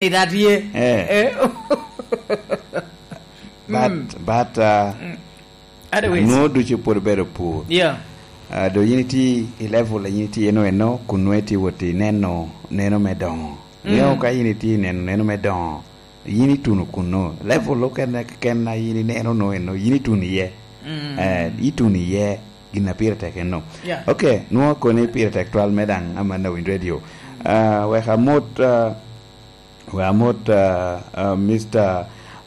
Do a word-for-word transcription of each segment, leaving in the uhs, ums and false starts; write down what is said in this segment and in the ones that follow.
Ni da tye. Eh. Eh. But, Mm. but, uh, Mm. Otherwise. Nwo ducu pwod obedo pur. Yeah. Uh, do yin itye i level a yin itye eno eno, kun nwo itye wot i neno, neno me dongo. Mm. Ngeyo ka yin itye i neno, neno me dongo, yin ituno kuno. Level okene keken a yin ineno no eno, yin ituno iye. Mm. Eh, ituno iye gin a pire tek eno. Yeah. Okay, nwo koni pire tek twal me daŋ Amanda Wind Radio. Uh, wek amot, uh, Wek amot, ah, ah, Mister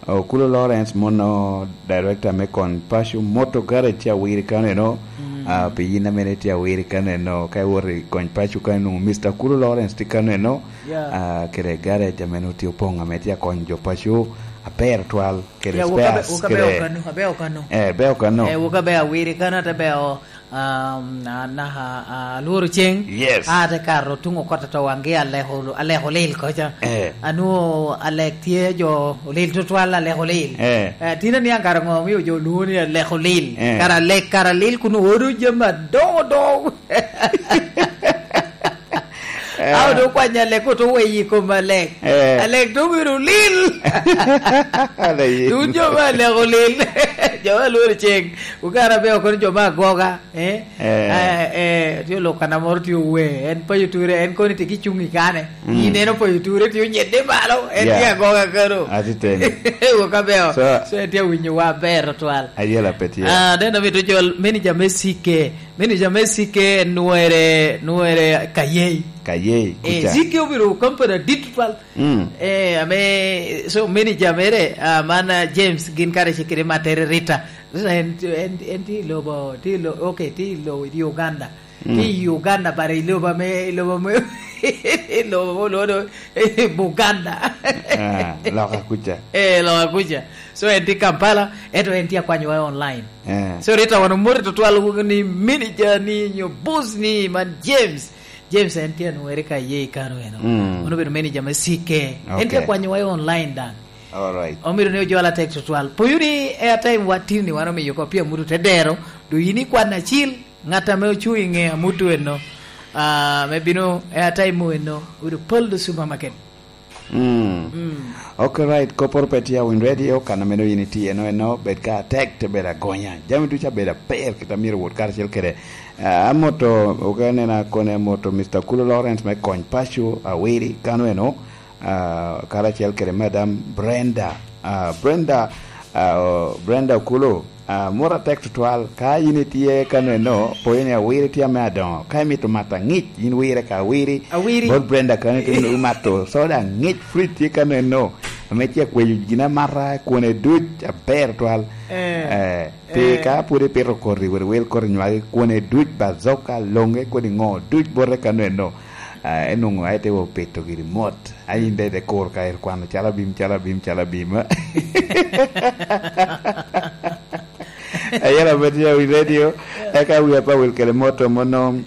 Okulo Lawrence, mono director me Kony Paco Motor Garage tye awiri kano eno. Mm. Ah, pi yin amene tye awiri kano eno, ka iwot i Kony Paco kano eno, Mister Okulo Lawrence tye kano eno. Yeah. Ah, kede garage ame nongo tye opoŋ ame tye akonyo jo paco aber twal, kede Yeah, wok abe-, spares, wok abe kede okano, abe okano. Eh, be okano. Eh, wok abe awiri kano, ate be o-, um, a-, naka, a-, alworo ceng. Yes. A te kato tuŋ okot to waŋgi aleko, aleko lil koca. Eh. Anwo alek tye jo olil tutwal, aleko lil. Eh. Eh, tin aniaŋ kara ŋo omio jo olwoŋo ni aleko lil? Eh. Kara alek, kara lil kun odo jami adoŋo doŋo. Eh. Awo do kwanya alek oto weyi i kom alek. Eh. Alek to obedo lil. Ala ye. Tun jo ma aleko lil. Jo ma lworo ceng. Ukara be okono jo ma agoga. Eh? Eh. Eh, eh, tye olok kana moro tye owe. En payo ture, en koni tye ki cuŋ i kane. Mm. Yi neno payo ture tye onyedde malo. En Yeah. tye agoga kano. Atiteni. Wok abeo. So, So, en tye awinyo wa ber otwal. Ayela pe tye. Ah, den amito jol manager me C K. Manager me C K en nwere, nwere Kayei. Kayei, Eh, kuca. C K obedo company adit tutwal. Mm. Eh, ame, so manager mere, ah, man, ah, James, gin kare ce kede matere Rita. Rita en, en, en tye i lobo, tye i lo-, okay, tye i lo-, i Uganda. Mm. Tye i Uganda, but i lobo ame, i lobo ame, i lobo ame olwodo, eh, Buganda. Ah, loka kuca. Eh, loka kuca. So en tye Kampala, ento en tye akwanyowa online. Eh. So Rita wan omoti tutwal ni manager ni nyo boss ni man James. James en tye anwere ka ye i kano eno. Mm. Mano obedo manager me C K. En tye Okay. akwanyowa i online daŋ. All right. Omito ni ojol atek tutwal. Poyo ni airtime wa tin ni wan omiyo ko pia mutu te dero. Do yin ikwan acil, ŋat ame ocuŋ i ŋe amutu eno. Ah, me bino airtime mu eno. Obedo Paldo Supermarket. Mm. Mm. Okay, right. Kopporo pe tye a Win Radio, kan a meno yin itye eno, eno, bed ka atek, te bed agonya. Jami ducu abedo aber, kit a myero wot karacel kede. Ah, amoto, oke nena kone amoto Mister Kulo Lawrence me Kony Paco, Awiri, kano eno, ah, karacel kede Madam Brenda. Ah, Brenda, ah, o, Brenda Kulo, Ah, mot atek tutwal. Ka yin itye kano eno, poyo ni Awiri tye ame adoŋo. Ka imito mato aŋic, yin wire ka Awiri. Awiri. Bot Brenda kano ito ni imato soda aŋic, fridge tye kano eno. Ame tye akweyo gin amata, kwone duc, aber twal. Eh, Eh, pe eh. ka pwod ipito koti, wot iwil koti nywagi, kwone duc, bazoka, loŋe, kodi ŋo, duc bote kano eno. Ah, enwoŋo aye te wa pito giri mot. A yin daŋ ite kur ka ite kwano calo abim, calo abim, calo abim. Ayela pe tye i radio, eka wi apa wil kede moto mono,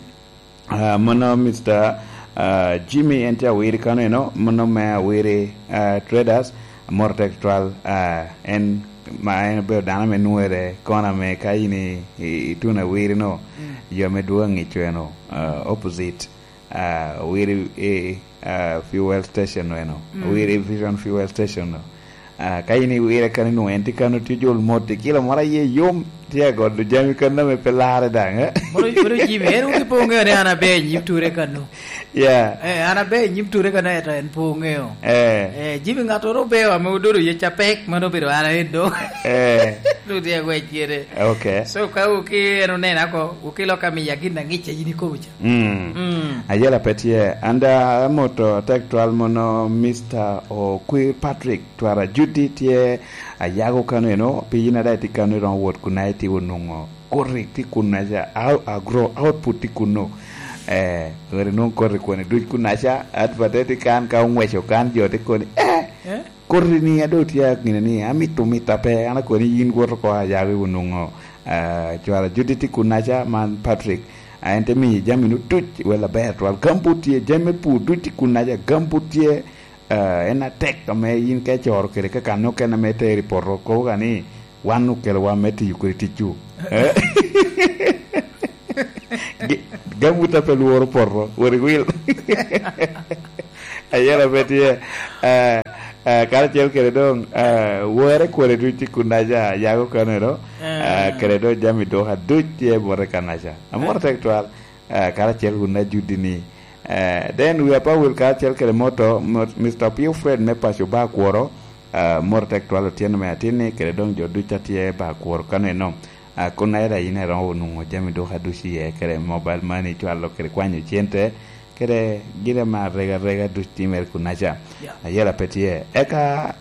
ah, mono Mister, ah, Jimmy en tye Awiri kano eno, mono me Awiri, ah, Traders, moto tek tutwal, ah, en ma en obedo dano ame nwere kono ame ka in i, i, ituno Awiri no, Mm. yo ame dwogo aŋico eno, ah, opposite. Ah, Awiri, eh, ah, fuel station eno. Mm. Awiri Vision fuel station no. Ah, ka in iwire kano, inwoŋo en tye kano, tye jol mot, i kilo moro aye yom, tye agolo jami kano ame pe larre daŋ, eh? Mono, mono Jimmy, en wun ipo ŋeo ni an abe i nyim ture kano. Yeah. Eh, an abe i nyim ture kano, eto en po ŋeo. Eh. Eh, Jimmy, ŋattoro obe ame ododo yec apek, mano obedo an aye do. Eh. Dong tye agwec kede. Okay. So, ka wuki en onena ko, wuki lok amiya gin aŋic a yin ikobo ca. Mm. Mm. Ayela pe tye. An da amoto atek twal mono Mister Okwi Patrick, twara Judy tye ayago kano eno, pi yin ada itye kano iromo wot kun aye tye onwoŋo koti tye kun aca, au-, agro output tye kuno. Eh, weri nwoŋo koti kwene duc kun aca, advertise tye kan ka oŋweco kan jo tye koni, eh, Eh? Koti ni a doŋ tye a gine ni amito mita pe, an akoni yin wot oko a yawi onwoŋo, ah, cwara Judith tye kunnaca, man Patrick, ah, en te miyi jami nu duc, wel aber twal. Gambut tye, jami me pur duc tye kunnaca, gambut tye, ah, en atek ame yin ka icoro kede ka kan okene ame itero i poto, kobo ka ni, "Wan okelowa me tiyo kodi ticwu." Eh? Gi-, gambut a pe lworo poto, wot iwil. Ayela pe tye, eh, eh, karacel kede doŋ, eh, wore kwone duc i kunaca, yago kaneno, eh, kede doŋ jami duka duc tye bote kanaca. Amoro tek twal, eh, karacel kun ajuddi ni, eh, then wi apawil karacel kede moto, mo-, Mister Pio Fred me paco ba kworo, eh, moro tek twal otyeno me atinni, kede doŋ jo duc a tye ba kworo kaneno. Ah, kun aye daŋ in eromo nwoŋo jami duka duc iye, kede mobile money, cwalo kede kwanyo cente, kede gin ame arega arega duc timere kunaca. Yeah. Ayela pe tye. Eka,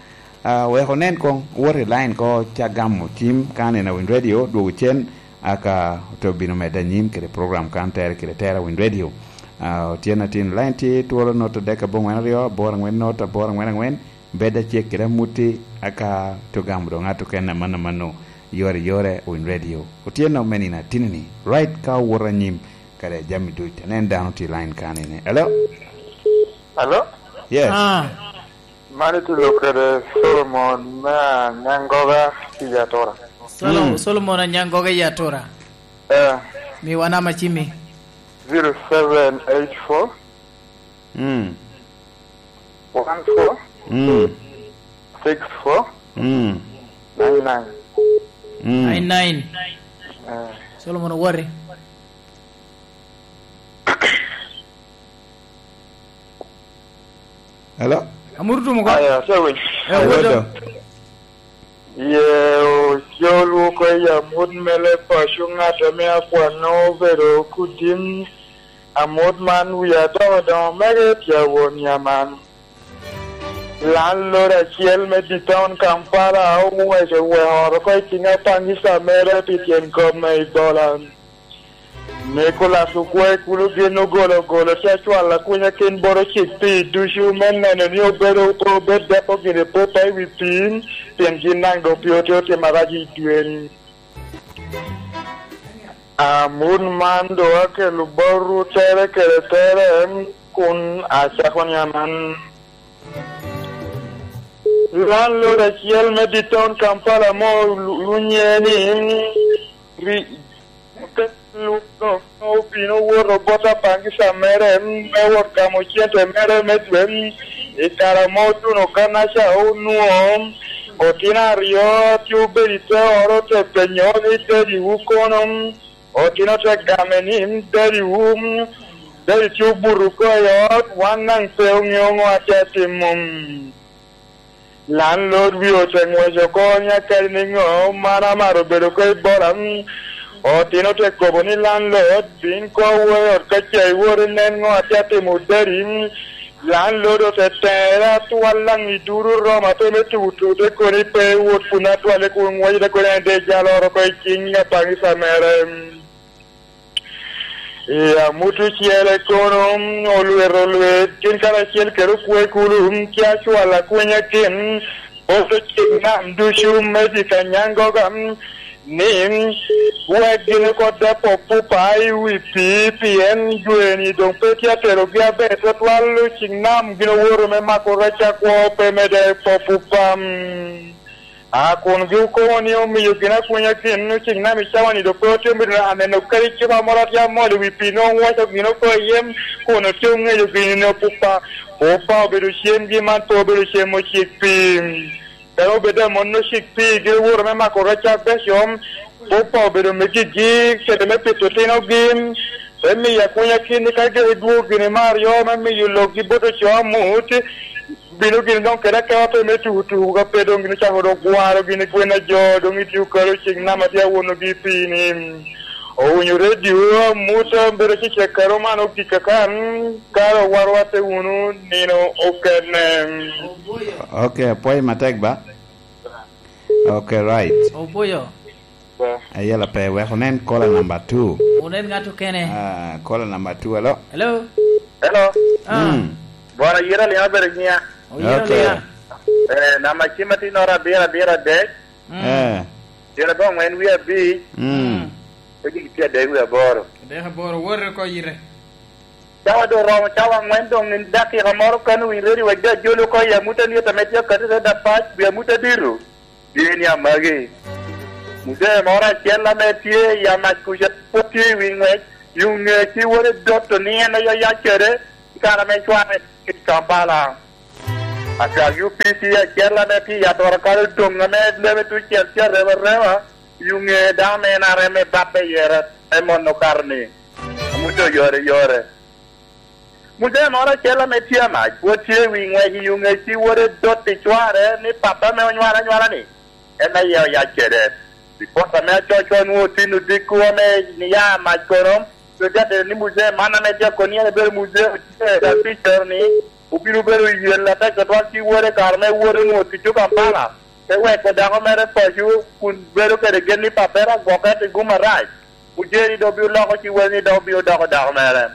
ah, wek onen koŋ, wot i line ko, ca gamo cim, ka aneno Winy Radio, dwogo cen, aka ote obino medde anyim kede program kan tere kede tera Winy Radio. Ah, otyeno atin line tye twolo not adek aboŋwen aryo, aboro aŋwen not, aboro aŋwen aŋwen, bed acek kede amutti, aka te ogamo doŋ ŋat okene amanno amanno, yore yore, Winy Radio. Otyeno me nino atinni, right ka owoto anyim, kede jami duc. Anen dano tye line kanene. Hello? Hello? Yes. Ah. Man itulo kede Solomon me Anyangoga i Atura. Solo-, Mm. Solomon Anyangoga i Atura. Eh. Miwa namba cimi. Zero seven eight four. Mm. One four. Mm. Six four. Mm. Nine nine. Mm. Nine nine. Eh. Solomon Owori. Hello? Amuru tumo ko? Aya, ate winyo. Eh, Awodo. Awodo. Ye ocol woko i amut me leb paco, ŋat ame akwano obedo kudim. Amut man wi adoŋo doŋo mege tye awon yaman. Landlord acel me downtown Kampala oweco weko oro oko i ciŋ apangisa mere pi tyen kop me Ebola. Nicolas Okwai kulo gin ogolo ogolo tye acwalo akunya kin bot ocik pii ducu me neno ni obedo pe obed deko gire popa i wi pii, pien gin daŋ doŋ pii otye otimo arac i dwe-ni. Amut man doŋ akelo botwu tere kede tere, kun acako ni aman. Landlord acel me downtown Kampala mo lu-, lunye ni ri-, obino woto bot apangisa mere me wot gamo cente mere me dwe i kare ame otuno kanaca onwoŋo otino aryo tye obedo i te oro te penyo ni, "Dadiwu kono?" Otino te game ni, "Dadiwu, dadi tye obuto oko i ot, wan daŋ pe oŋeo ŋo atye atimo." Landlord wie ote ŋwec oko ni, "Akadi niŋo, man amaro bedo oko i bola." Otino te kobo ni, "Landlord, bin koŋ wo i ot ka ca iwot inen ŋo atye atimo dadi." Landlord ote tere atwal daŋ i duru Roma pe me tutu, te koni pe iwot kun atwale kun ŋwec te koni en de jalo oro oko i ciŋ apangisa mere. I amut ocele kono, olwet olwet, gin karacel kede okwe kulu, tye acwal akwenya kin, poto cik nam ducu me dye Kanyangoga, ni, wek gin oko depo pupa i wi pii, pien dwe-ni doŋ pe tye aterogi aber twatwal, cik nam gin owoto me mako rec akwo, pe medde po pupa. A kun gi okobo ni omiyo gin akunya gin, ociŋ nam i cawa-ni doŋ pe ote bedo aneno kadi cupa moro atye amol i wi pii, nwoŋo owaco gin oko i yem, kun otye oŋeyo gin ni opupa. Pupa obedo cemgi, man pe obedo cem ocik pii. Kara obed a mon ocik pii, gin owoto me mako rec abeco, pupa obedo me gigi, kede me pito otinogi, te miyo akunya kit ni ka gin idwogo gini me aryo me miyo lokgi bot oco amut, bino gin doŋ kede akemo pe me tuku tuku ka pe doŋ gin ocako dok gwaro gin gwen a jo, doŋ itio kalo cik nama tye awonogi i pii ni. Owinyo redio, amut, bedo cecek karo man ogik akan, kare owarowa te wunu nino okene. Ok, apwoyo matek ba. Ok, right. Opoyo. Ayela pe, wek onen caller number two. Onen ng'ato kene. Ah, caller number two, hello? Hello? Hello? Ah. Mm. Bwana, yera liŋa bedo nyiŋa. Oyera. Ok. Liŋa. Eh, namba cim atinora abiro abiro adek. Mm. Eh. Tyen abongwen wie abic. Mm. Ojik tye adek wie aboro. Adek aboro, worre oko yite. Cawa doŋ oromo, cawa aŋwen doŋ, in dakika moro kano wi ready wek jo ajolo oko i amut alyet ame tye akati i te dapac, wi amut adito. Tye ni amagi. Muzee moro acel ame tye i amac kuca, pwod tye i wi ŋwec, i ŋe ci wode dotto ni en aye oyac kede, kare ame cware i Kampala. Atwak U P C acel ame tye i Atora kalo doŋ ame lebe tucel tye arema arema, i ŋe dano ame en arem me bap me yere, me mon okato ni, Muca oyore yore. Muzee moro acel ame tye amac, pwod tye i wi ŋwec i ŋe ci wode dot i cware ni papa ame onywalo anywala-ni, en aye oyac kede. Ripot ame acoco nwoŋo tin odiko ame nia mac kono, pe te atito ni muzee man ame tye akoni en ebedo muzee otyeno i Apico ni, obino bedo yel atek tutwal ci wode kare me wot onwoŋo ticco Kampala, te weko dako mere paco kun bedo kede gen ni papere agwoke pi gum arac. Muzee ni dok obino loko ci wode ni dok obino doko dako mere.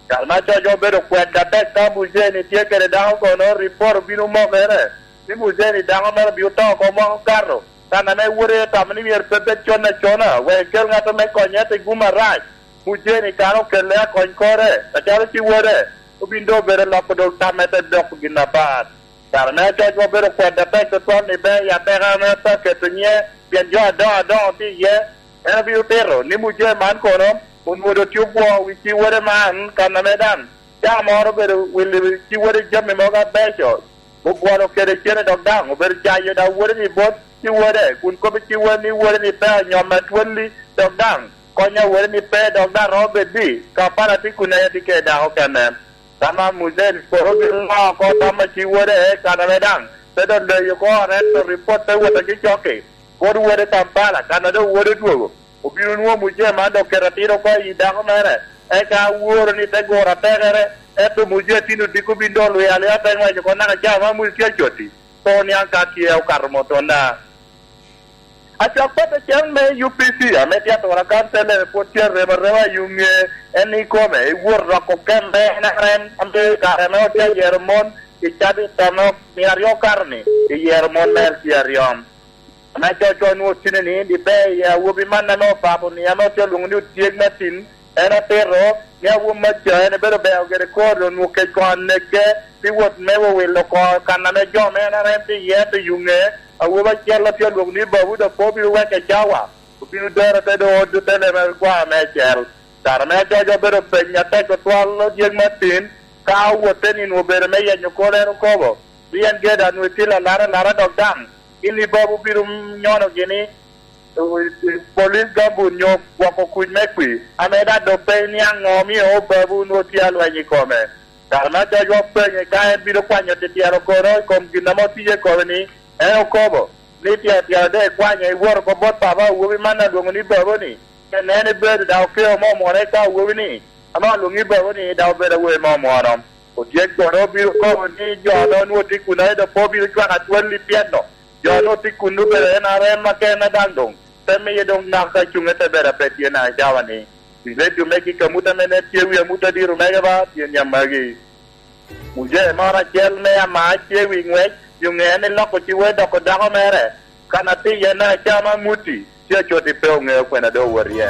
Kare ma acoco obedo kwed atek ka muzee ni tye kede dako kono, ripot obino mokere ni muzee ni dako mere obino to oko mwaka okato. Kan ame wode otamo ni myero pe bed con acona wek ekel ŋat ame konye pi gum arac, mujeni kara okelle akony kore, acalo ci wode, obin doŋ obedo loko doŋ tamme te doko gin apat. Kare me acoc obedo kwed atek tutwal ni ber i ateka ame pe aketo nyiŋe, pien jo adoŋo adoŋo tye iye. En obino tito ni mujee man kono onwoŋo doŋ tye obwo wi ci wode man, kan ame daŋ ca moro obedo wilo ci wode jami mogo abeco, obwolo kede cene dok daŋ obedo cayo daŋ wode ni bot ci wode, kun kobbi ci wode ni wode ni pe anyomme atwalli, dok daŋ kony a wode ni pe, dok daŋ romo bed ni Kampala tye kun en tye kede dako kene. Tamam Hussein kono obino ŋo oko tam a ci wode, kan ame daŋ pe doŋ leyo oko, ento ripot te wot acocok-ki, bot wode Kampala, kan a doŋ wode odwogo. Obino nwoŋo mujee man dok keto atir oko i dako mere, eka aworo ni te guro atekere, ento mujee tin odiko bin doŋ olwio alwia te ŋwec oko naka ca ma mujee tye acoti, pe oniaŋ ka tye okato mot onda. Acwak pata cen me U P C ame tye atura kan tellere pwod tye arem arema i ŋe, en ikome, iwot roko kemme en arem ame kare ame otye ayero mon i cabit ame mia aryo okato-ni, iyero mon mere tye aryom. Ame coco onwoŋo tine ni, diber i awobi man ame opako ni ame otye olwoŋo ni otyeg me tin, en otito ni awobi me ca en ebedo beo gire kor onwoŋo kec koŋ aneke pi wot me wowilo oko kan ame jo me en arem tye iye, ento i ŋe awobi acel a tye olwoŋo ni babu dok pe obino weke cawa, obino dero te doŋ ot te leme gwa meicel. Kare me acoco obedo peny atek tutwal odyek me tin, ka owotte ni nwoŋo obedo me yenyo kor en okobo, ni en geda nwoŋo itye lalara alara dok daŋ gin i babu bino nyono gini, eh, police gambut nyo gwoko kuc me kwi, ame daŋ doŋ pe iniaŋ ŋo omio babu nwoŋo tye alweny i kome. Kare me acoco openye ka en bino kwanyo tityero kono i kom gin ame otye kome ni, en okobo ni, tyero tyero doŋ ikwanyo iwot oko bot papa awobi man alwoŋo ni babu-ni, pien en ebedo daŋ okeo mo mwono eka awobi-ni, ame alwoŋo ni babu-ni daŋ obedo awobi mo mwono. Otyeko kono obino kobo ni jo ame onwoŋo tye kun aye doŋ pe obino cwako atwal i pien-nu. Jo ame otye kun obedo en arem akene daŋ doŋ te miye doŋ naka cuŋe te bedo ape tye naka cawa-ni. I redio megi ka amut ame nen tye wi amut adito mege ba tye niaŋ magi. Mujee moro acel me ama tye wi ŋwec, yo ŋe en iloko ciwe doko dako mere, kan atir en acama amuti, tye acoti pe oŋeo kwena doŋ owot iye.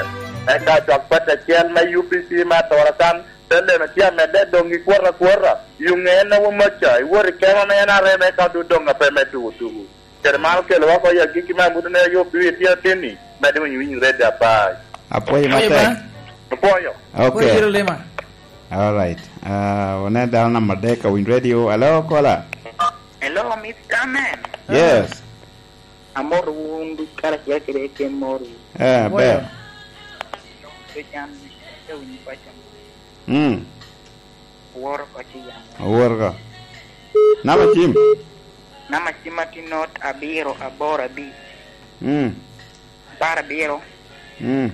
Eka acwak pati acel me U P C me atura kan, te leme tye amedde doŋ i kwota kwota, yo ŋe en awo maca, iwot i kema me en areme ka doŋ doŋ ape me tuko tuko. Kede man okelo oko i agikki me amut ne yo biri tye atin-ni, med winy winy red apar. Apwoyo Apwoyo matek. Ba. Apwoyo. Okay. Apwoyo Jerolima. All right. Uh, one dano namba adek ka winy radio. Hello, caller. Hello, Mister Man. Yes. Amor wun duc karacel kede ken mor. Eh, ber. Pe can, pe winy paco. Mm. Woro ko ci yamo. Woro ko. Namba cim? Namba cim ma tye not abiro aboro abic. Mm. Apar abiro. Mm.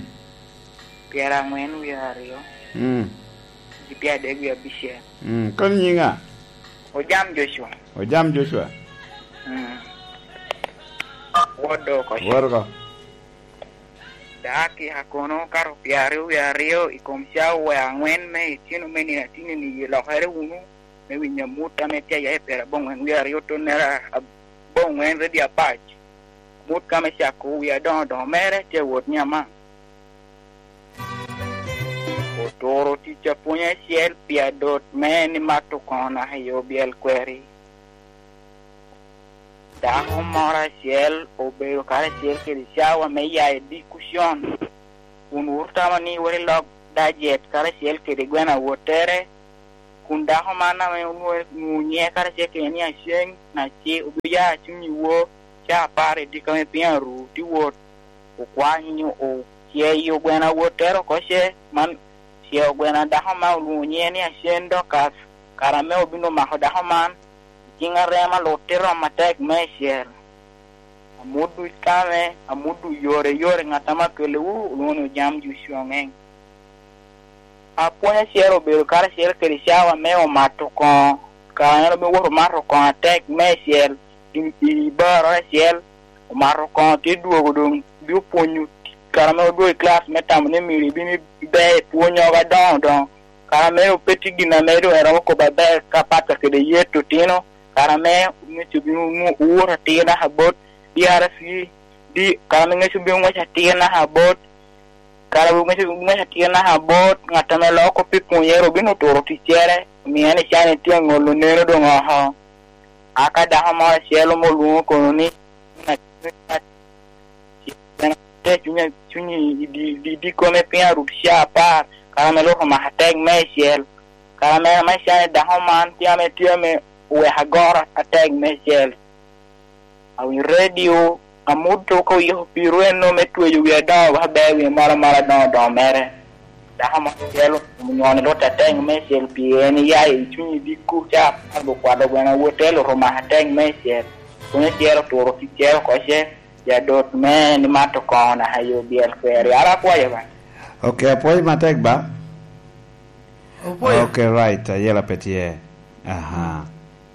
Pyera angwen wiye aryo. Mm. Gi pyera adek wiye abicel. Mm. Koni nyinga? Ojam Joshua. Ojam Joshua. Mm. Woro ko ci. Woro ko. Dakika kono kato pyeraryo wie aryo i kom cawa angwen me itino me nino atini-ni, ilokere wunu me winyo amut ame tye aya i pyeraboŋwen wie aryo tonnere aboŋwen redio apac. Amut ka me cako wie adoŋo doŋo mere tye awot ni amaŋ. Oturo tic apwony acel pi adot me ni mato koŋo naka i obyel kweri. Dako moro acel obedo karacel kede cawa me ya i dikucon, kun wuro tamo ni wot i lok dajet karacel kede gweno awottere, kun dako man ame onwoŋo nyiŋe karacel kede ni Aceng, na ce obia cuny i woo, ca apar i diko me piny aru, te wot okwanyo, oceo gwena wottere oko ce, man oceo gwena dako man olwoŋo nyiŋe ni Aceng Dokas, kara ame obin omako dako man, i ciŋ arema lutte romo atek meicel. Amut duc kame, amut duc yore yore, ŋat ame akelewu olwoŋo ni Ojam Jucu Oŋeŋ. Apwony acel obedo karacel kede cawa me omato koŋo, kara en obin owoto omato koŋo atek meicel i, i barot acel, omato koŋo te dwogo doŋ, bino pwonyo kara ame odwogo i kilac me tamo ni myero ibin iber i pwonyogo adoŋo doŋo, kara ame pe tye gin ame doŋ eromo kobo aber ka Pata kede Yeto otino, kara ame ŋec obin owoto atir naka bot D R C, di, kara ame ŋec obin oŋwec atir naka bot, kara ame ŋec obin oŋwec atir naka bot, ŋat ame loko kop pi pwonyere obin oturo ticcere, omio en ican itye aŋolo neno doŋ oko. Aka dako moro acel ame olwoŋo kono ni, te cuny, cuny i di, di, di kome piny arut ca apar, kara ame Lwak omako atek meicel, kara ame, ame can i dako man tye ame, tye ame oweko agoro atek meicel. Awinyo redio, amut oko yiko piro eno me tweyo wi adoŋo wek aber wi mara mara adoŋo adoŋo mere. Dako mo acel onyono Lwak atek meicel pi en iya i cuny i dikku ca apar okwalo gwena wotelo omako atek meicel. Kun acel oturo ticcere oko ce, jadot me ni mato koŋo naka yo byel kweri. Ara akwayo ba. Ok, apwoyo matek ba. Opwoyo. Ok, right, ayela pe tye. Aha.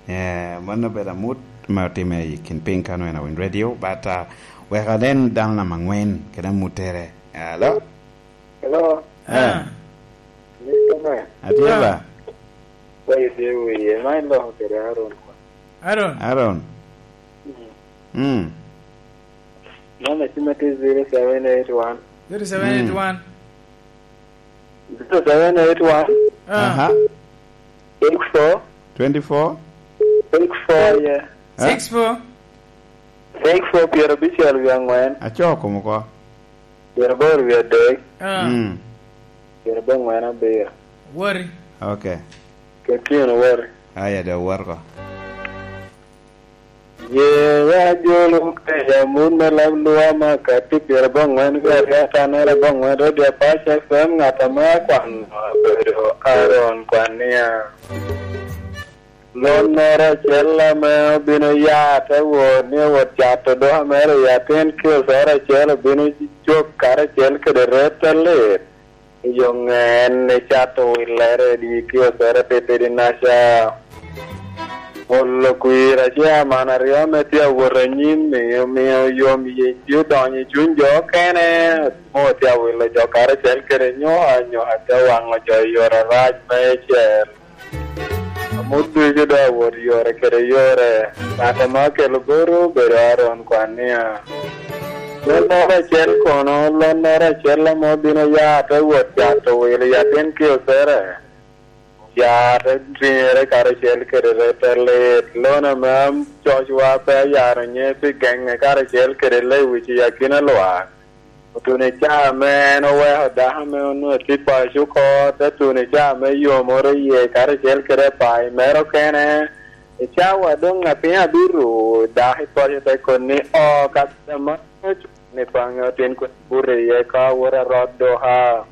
Eh, mano obedo amut ma otimme i kin piny kano en awiny radio, but, uh, wek anen dano namba angwen kede amuttere. Hello? Hello? Eh. Ah. Mister Man. Atye ba? Kwayo tye wiye, ma iloko kede Aaron kwa. Aaron. Aaron. Mm. Mm. Namba cim atye zero seven eight one. Zero seven eight one. Mm. Zero seven eight one. Ah. Aha. Six four. Twenty-four. Six four, yeah. Eh? Six four. Six four, pyerabicel wie angwen. Acoo kom oko. Pyeraboro wie adek. Ah. Mm. Pyerabongwen abiro. Wori. Ok. Kekino wori. Aya, dok wot oko. Ye ya jolo kaya mun me lam lwama kati pyerabongwen wie aryo atanere bongwen radio Apac F M, ŋat ame akwano abedo Aaron Kwania. Lonnoro acel ame obino ya te wot ni owot cato duka mere i atin kiosoro acel, obino cok karacel kede rette lit. I yo ŋen icato willere i dye kiosoro titidi naca. Olo kwir acaman aryo ame tye awot anyim-mi omio yom yec tye odonyo i cuny jo okene, mo tye awilo jo karacel kede nyoka, nyoka te waŋo jo i yore arac meicel. Amut ducu doŋ awot yore kede yore, ŋat ame okelo boro obedo Aaron Kwania. Lonnoro acel kono, lonnoro acel ame obino ya te wot cato wil i atin kiosere. Ya te riŋere karacel kede rette lit, lon ame cocwa pe ayaro nye pi geŋe karacel kede lewic i akina lwak. Otuno i caa ame en oweko dako ame onwoŋo tye i paco oko, te tuno i caa ame yomoro iye karacel kede apayi mere okene. I cawa doŋ a piny abiro, dako i paco te koni, "O, ka ame ni paŋe otin kun buto iye ka awot arot duka."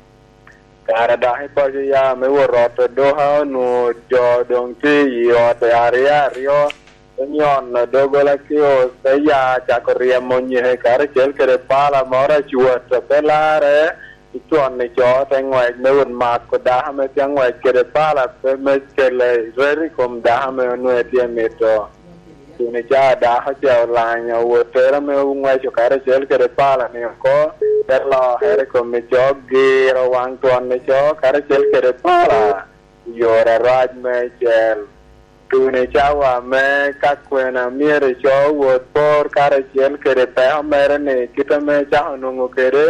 Kara dako i paco ya me wot roto duka, onwoŋo jo doŋ tye i ot aryo aryo, onyono doggola kios, te ya cako ryemo nyeke karacel kede pala moro acwat a pe larre, icwon i co te ŋwec me wot mako dako ame tye aŋwec kede pala pe me kele reti i kom dako ame onwoŋo tye mito. Kun i caa dako ce olanyo wottere ame oŋweco karacel kede pala-ni oko, te lokere i kom i co, giro waŋ twon i co karacel kede pala i yore arac meicel. Kun i cawa ame ka kwena myero i co wot por karacel kede peko mere-ni, kit ame cako nwoŋo kede,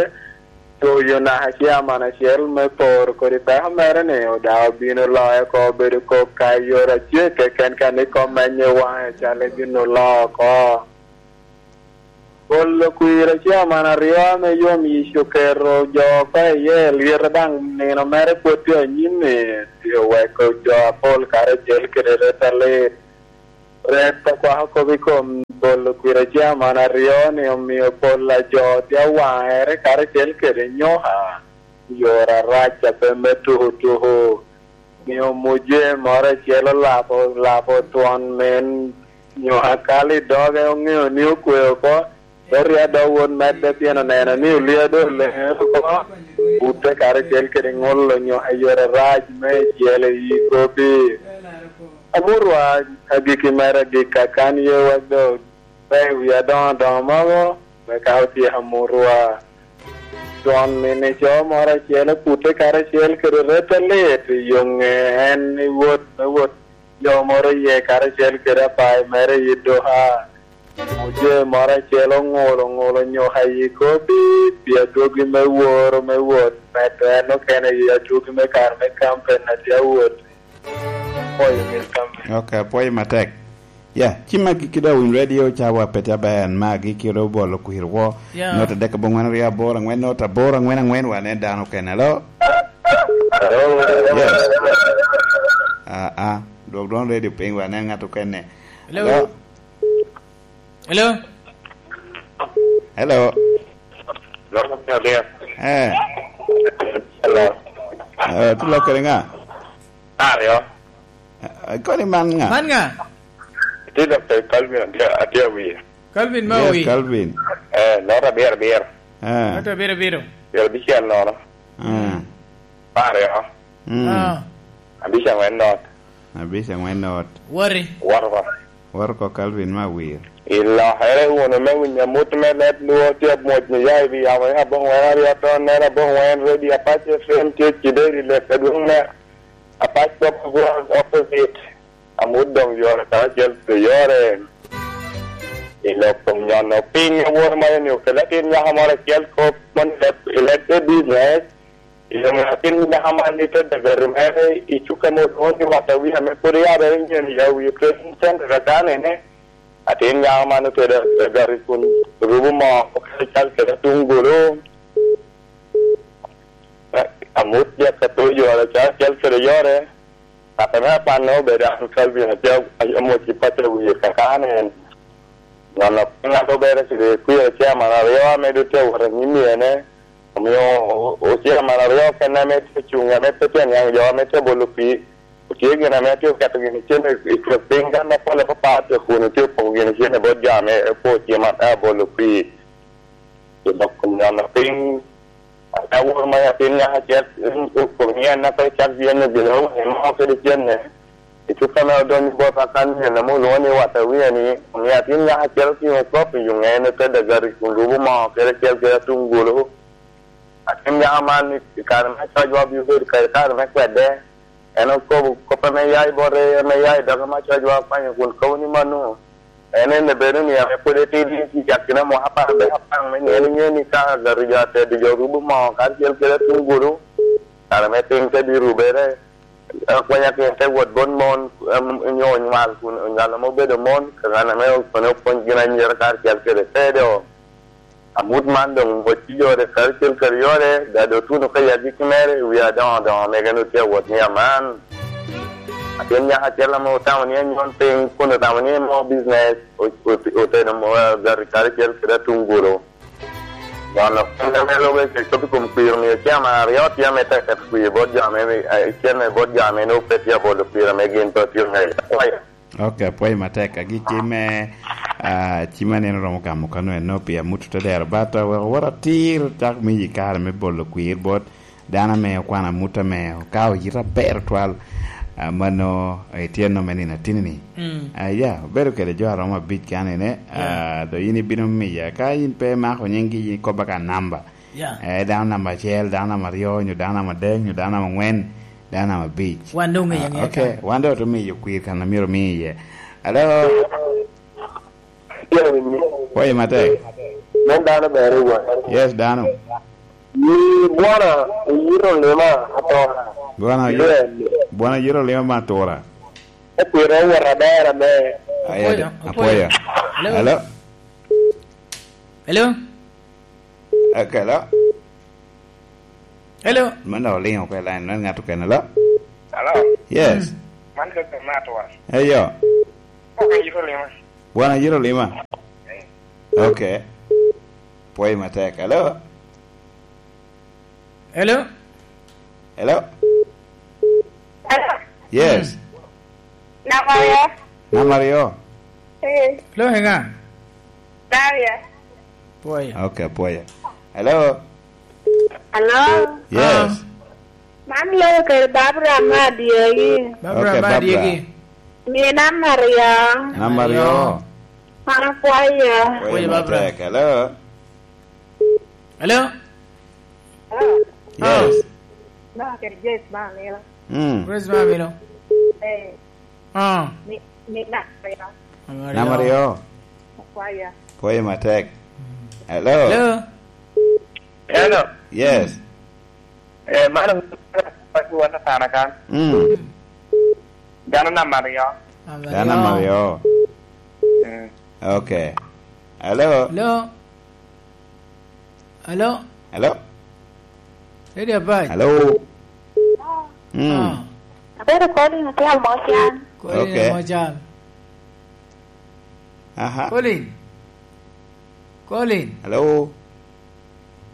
Toyo naka ciaman acel me poro kodi peko mere-ni, odaŋ obino loyo oko obedo kok ka i yore acel keken, ka ni kom menye waŋe cal ibino loo oko. Olo kwir a chairman aryo ame yom yic oketo jo oko iye, lyete daŋ nino mere pwod tye anyim-mi, tye oweko jo apol karacel kede ret alit. Ret akwako kop i kom bolo kwir a chairman aryo-ni omio pol a jo tye awaŋere karacel kede nyoka i yore arac a pe me tuko tuko. Omio muje moro acel olabo, olabo twon men nyoka kalo i doge, oŋeo ni okwe oko, te rye adok wot medde pien oneno ni olia doŋ oleŋe oko, bute karacel kede ŋolo nyoka i yore arac me icel i yi kop-pi. Amutwa agikki mere agikka, kan ye wek doŋ pe i wi adoŋo adoŋo mogo, wek ka otyeko amutwa. Twon mini co moro acel opute karacel kede ret alit i yoŋe, en i wot me wot jo moro iye karacel kede apayo mere i duka. Muje moro acel oŋulo, oŋulo nyoka i kop-pi pi adwogi me woro me wot, medo en okene i adwogi me kare me kampen a tye awot. Apwoyo Milton. Ok, apwoyo matek. Ya, ci magi kede Awiny Radio, cawa pete aber, magi kede obolo kwir wo. Ya. Nota dek abongwen aryo aboro angwen, nota aboro angwen angwen, wan en dano okene. Hello? Hello? Yes. Ah, ah, dwok dwon radio piny, wan en ngat okene. Hello? Hello? Hello? Hello? Loko piny abiro. Eh. Hello? Eh, ti lok kede nga? Aryo. Eh, koni man nga? Man nga? Ti lok kede Calvin, atye, atye awiye. Calvin ma Yes, owi. Calvin. Eh, nota abiro abiro. Eh. Nota abiro abiro. Piro abicel nono. Eh. Aryo. Mm. Ah. Abic angwen not. Abic angwen not. Wari. Wato oko. Wato oko Calvin me awir. Ilokere wunu me winyo amut me leb lwo tye amwoc ni ya i wi yamo, ya aboŋwen aryo ton nera aboŋwen ready, Apac F M tye cideri lek adwoŋ ne. Apac Pop World opposite. Amut doŋ yore karacel pi yore. I lok kom nyono piny awor ma en okelo atin nyaka moro acel kop mon i leb, i leb te business. I leb atin nyaka man i te dagari mere i cuka mo dwon i wata wi ame pwod yabere nyen i awi trading center a dano ene. Atin nyaka man ote dagari kun rubu mo okelo cal kede atungulu. Amut jaka to yore cal kede yore. Ŋat ame apanne obedo an Calvin, atye amwoc i paco wiye kakane en. Nono piny ŋat obedo kede kwir chairman aryo ame doŋ tye awot anyim i ene, omio o-, o-, chairman aryo kene ame tye cuŋ, ame pe tye niaŋ jo ame tye bolo kwir, otye gin ame tye oketo gin cen i, i kin piny, dano apol apapat tye kun tye opoko gin cen i bot jo ame po cim a-, abolo kwir. I dok kom nyono piny, ata woro ma atin nyaka acel, in, in, kom nyen na pe cak yen obino, imo kede cenne. I cuka me odonyo bot akan nyen ame olwoŋo ni wata wiye ni, omio atin nyaka acel otingo kop i yuŋe, en ote dagari kun rubo moo kede acel kede atungulu. Atin nyaka man i kare me cocwa obino bedo kede kare me kwede. En okobo kop ame ya i bote, ame ya i doge me cocwa okwanyo kun kobo ni mano. En en bedo ni ame pwod etidi i akina mwaka apar me apaŋ me nyen inge ni ka gari jo atedi jo rubo moo karacel kede atungulu, kare me piny te bino rubere, akwanya kin te wot bot mon, em, nyo onywal kun onywal ame obedo mon, ka ŋan ame okone opwony gin anyira karacel kede tedo. Amut man doŋ wot ci yore karacel kede yore, dado otuno ka yagi ki mere i wi adoŋo adoŋo mege no tye awot ni aman. Atin nyaka acel ame otamo ni anyon piny kun otamo ni mo business, o-, o-, oteno mo, eh, gari karacel kede atungulu. Nono piny ame lube kec kop i kom kwir omio cem aryo tye ame tek ket kwir bot jo ame, eh, cen me bot jo ame no pe tye abolo kwir ame gin pe otye ŋeyo. Kwayo. Ok, apwoyo matek. Agikki me, ah, cim aneno romo gamo kano eno pi amut te dero, but, ah, wek owot atir cak me yi kare me bolo kwir bot dano ame okwano amut ame okao yit aber twal, ah, mano, eh, tye nome nino atini-ni. Mm. Ah, ya, obedo kede jo aromo abic kan ene, Yeah. ah, do in ibino miya. Ka in pe imako nyinggi, in kobba ka namba. Ya. Eh, dano namba acel, dano namba aryo, nyo dano namba adek, nyo dano namba angwen, dano namba abic. Wan doŋ ŋeyo Ah, aŋeya ok, kan. Wan doŋ otumiyo kwir kan amyero omi iye. Alo? Tye winyi. Woye matek. Men dano ber i wang. Yes, dano. Ni bwana oyito lima atora. Bwana oyi-, Yes. Bwana oyito lima me atura. Okwiro owot aber ame. Aye, Apoya, apoya. Apoya. Alo? Alo? Hello? Eh, hello? Hello? Mano oliŋo oko i line, mano ŋat okene, hello? Hello? Yes. Mm. Man Joseph Matwa. Eyo. Ok, yito lima. Bwana yito lima. Eh. Ok. Pwoyo matek. Hello? Hello? Hello? Hello? Yes. Mm. Namba aryo. Namba aryo. Eh. Lo ŋa? Daria. Pwoyo. Ok, pwoyo. Hello? Hello? Yes. Ah. Man lo kede Barbara ma adyegi. Barbara Ok, ma Barbara. Adyegi. Mie namba aryo. Namba aryo. Namba aryo. An apwoyo. Pwoyo Pwoyo, Barbara. Matek. Hello? Hello? Hello? Yes. Ma kede Grace ma amino. Mm. Grace ma amino. Eh. Ah. Mi, mi na, ya. Namba aryo. Namba aryo. Akwaya. Pwoyo matek. Hello? Hello? Hello? Yes. Eh, mano, wan Atana kan. Mm. Dano namba aryo. Namba Dano namba aryo. Aryo. Mm. Ok. Hello? Hello? Hello? Hello? Lady Apac. Hello? Mm. Ah. Abedo Colin, atye Amocan. Colin Ok. Amocan. Aha. Colin. Colin. Hello?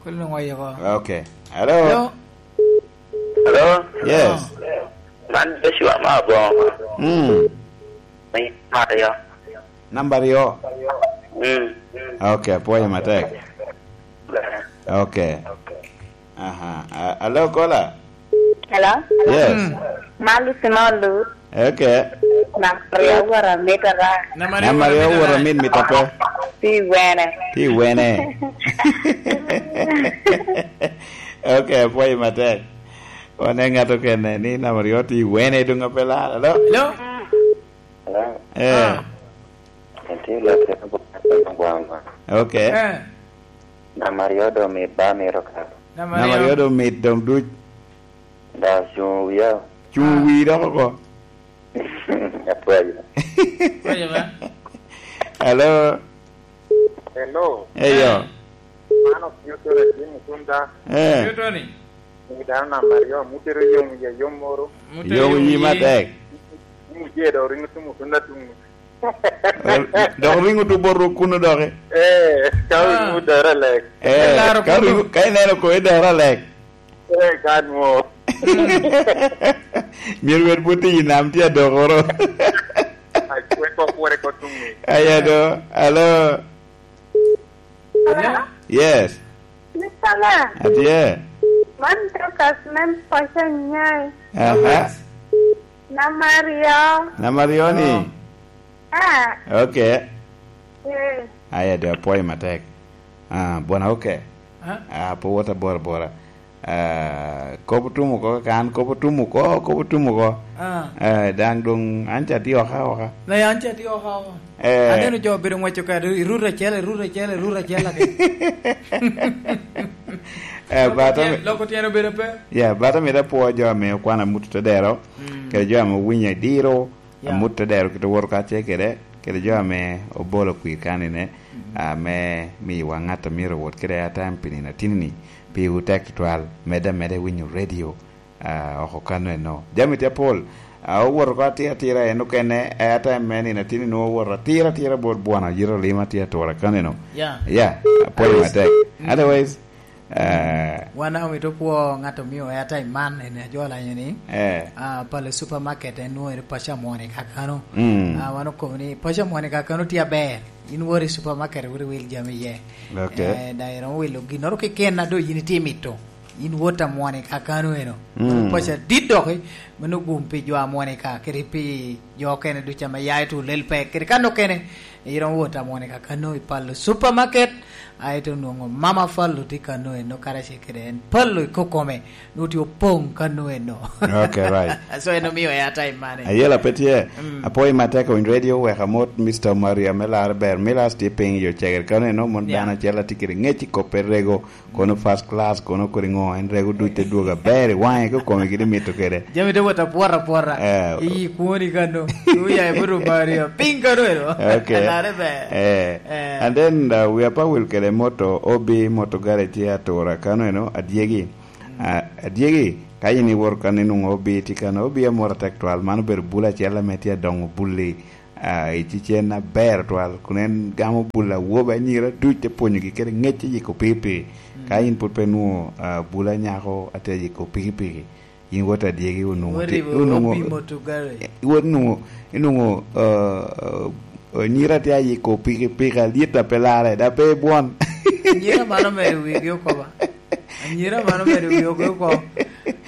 Colin oŋwayo oko. Ok. Hello? Hello? Hello? Yes. Ah. Man Joshua ma Abongo. Mm. Ni Mario. Namba aryo. Mm. Ok, apwoyo matek. Ber. Ok. Aha. A-, alo, Kola? Hello? Yes. Mm. Man Lucy Molu. Ok. Namba aryo wora mit ara. Namba aryo Namba aryo wora wora mit mit ape. Ti wene. Ti wene. Ok, apwoyo matek. Wane ŋat okene ni namba aryo ti wene dong ape lar. Alo? Hello? Hello? Eh. Ah. Atye lok kede bot gwanga. Ok. Eh. Namba aryo dong mit ba mito ka. Namba Namba aryo. Aryo dong mit dong duc. Da cuŋ wia. Cuŋ Ah. Wi dok oko. Apwoyo. Apwoyo ba. Hello. Hello. Eyo. Eh. Man Opiyo Tony, Jim Mutunda. Eh. Opiyo Tony. Ni dano namba aryo, mutero yom wiye yom moro. Mutero Yom yom yi wiye. Matek. Ni muje dok ringo tum Mutunda tum. Dok ringo tu bot rok kuno doki. Eh, ka Ah. Ringo doro lek. Eh, Laro ka kuno. Ringo, ka ineno ko idoro lek. Eh, kan mo. Myero wed bot i nam tye adokoro. Ai, kwe ko kwore ko tum ni. Aya do. Alo. Hello? Yes. Mister Lang. Atye. Man Dorcas me Poca Nyai. Aha. Namba aryo. Namba aryo ni? Oh. Ah. Ok. Eh. Aya, de apwoyo matek. Ah, bwana, ok. Ah. Ah, pe wot abora abora. Ah, kop otum oko, ka an kop otum oko, kop otum oko. Ah. Eh, daŋ doŋ an ca tye oka oka. Na an ca tye oka oka. Eh. Aneno jo obedo ngweco kado i rut acel, i rut acel, i rut acel ake. Eh, Loko bata tyen, mi-, loko tyen obedo pe. Ya, bata mito apwo jo ame okwano amut te dero, Mm. kede jo ame owinyo i diro, Yeah. Amut te dero kit owoto kacel kede, kede jo ame obolo kwir kanine, Mm. ame miyowa ŋat a myero owot kede airtime pi nino atini-ni, piwu tek tutwal, medde ameda i winyo radio, ah, oko kano eno. Jami tye apol, ah, owoto oko atira atira en okene, airtime me nino atini nwoŋo owoto atira atira bot bwana, yito lima tye atura kano eno. Yeah. Yeah, apwoyo Otherwise, matek. Mm. Otherwise, eh, Wan daŋ omito kwo ŋat omio airtime man, en ajo lanyo ni, eh. Ah, pale supermarket en nwoŋo ere paco amwone kakano. Mm. Ah, wan okobo ni paco amwone kakano tye aber. In wot i supermarket, wot iwil jami iye. Ok. Eh, daŋ iromo wilo ginnoro keken a doŋ yin itye mito. In wot amwone kakano eno. Mm. Paco adit doki, mano gum pi jo amwone ka, kede pi jo okene ducu ame ya i tulel pe, kede kan okene, iromo wot amwone kakano i palo supermarket, aeto onwoŋo Mama Fallo tye kano eno karacel kede en. Fallo i kokome, nwoŋo tye opoŋ kano eno. Ok, right. So en omio airtime money. Ayela pe tye. Mm. Apwoyo matek owiny radio, wek amot Mister Maria me Lar Ber. Milas tye piny i yo cegere kano eno, mon Yeah. dano acel atye kede ŋec i kop pe rego, kono first class, kono kodi ŋo, en rego duc te dwogo aber i waŋe, kokome gini mito kede. Jami te wot apwora apwora. Eh. I kwoni kano. Uya e buto Maria. Piny kano eno. Ok. Are ber. Eh. Eh. And then, uh, we are power kede moto, O B moto garage tye atura kano eno, adyegi. Mm. Ah, adyegi, ka in iwoto kan inwoŋo O B tye kano, O B amoro atek twal, mano obedo bul acel ame tye adoŋo bulli, ah, i cicen aber twal, kun en gamo bul awobe anyira duc te pwonyogi kede ŋec i yiko pii pii. Mm. Ka in pwod pe nwoŋo, ah, bul anyako ate yiko pikipiki, in wot adyegi onwoŋo Wot ti-, i onwoŋo, opimo tugare. Wot nwoŋo, inwoŋo, ah, ah, nyira tye ayiko pikipiki alyet a pe larre, da pe bwon. Anyira mano mere wigi oko ba. Anyira mano mere wigi oko oko.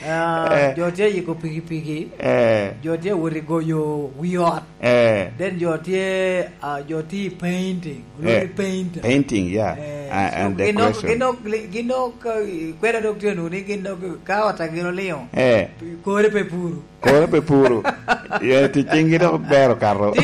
Ah, eh, jo tye ayiko pikipiki. Eh. Jo tye awot i goyo wi ot. Eh. Then jo tye, ah, jo tye i painting. Olwoŋo ni painter. Painting, yeah. Eh, and so gin dok, decoration. Gin dok, gin dok, eh, kweda dok tye nwoŋo ni gin dok ka ot a gin oliŋo. Eh. Kore pe puru. Kore pe puru. Yeah, tic ciŋgi dok ber okato.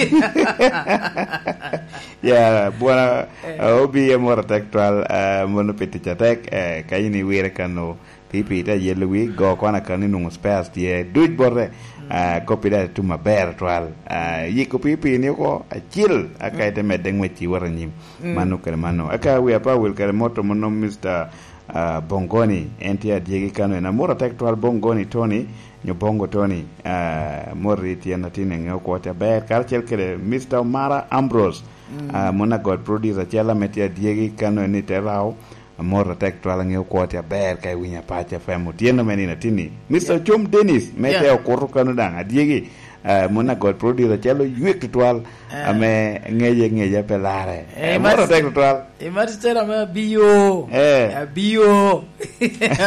Yeah, bwana, eh, eh, O B amoro atek twal, eh, mono pi tic atek, eh, ka in iwire kano, P P te yelo wi go kwana kan inwoŋo spares tye duc bote. Mm. Ah, kop-pi daŋ tum aber twal. Ah, yiko P P ni oko acil, aka ite medde ŋwec i wot anyim. Mm. Mano kede mano. Aka wi apa wil kede moto mono Mister, ah, Bongoni, en tye adyegi kano en amoro atek twal Bongoni Tony, nyo Bongo Tony, ah, mori tyen atin eŋeo kwo tye aber, karacel kede Mister Omara Ambrose, mm, ah, mon agot producer acel ame tye adyegi kano en i te Rao, Amor atek twal aŋeo kwo tye aber ka iwinyo Apac F M. Otyeno me nino atinni. Mister Yeah. Ocom Dennis, me Yeah. te okuto kano daŋ, adyegi, eh, mon agot producer acel oywek tutwal, Eh. ame ŋeye ŋeya pe larre. Eh, Eh, Amor mas-, atek tutwal. Eh, Master ame abio. Eh. Abio.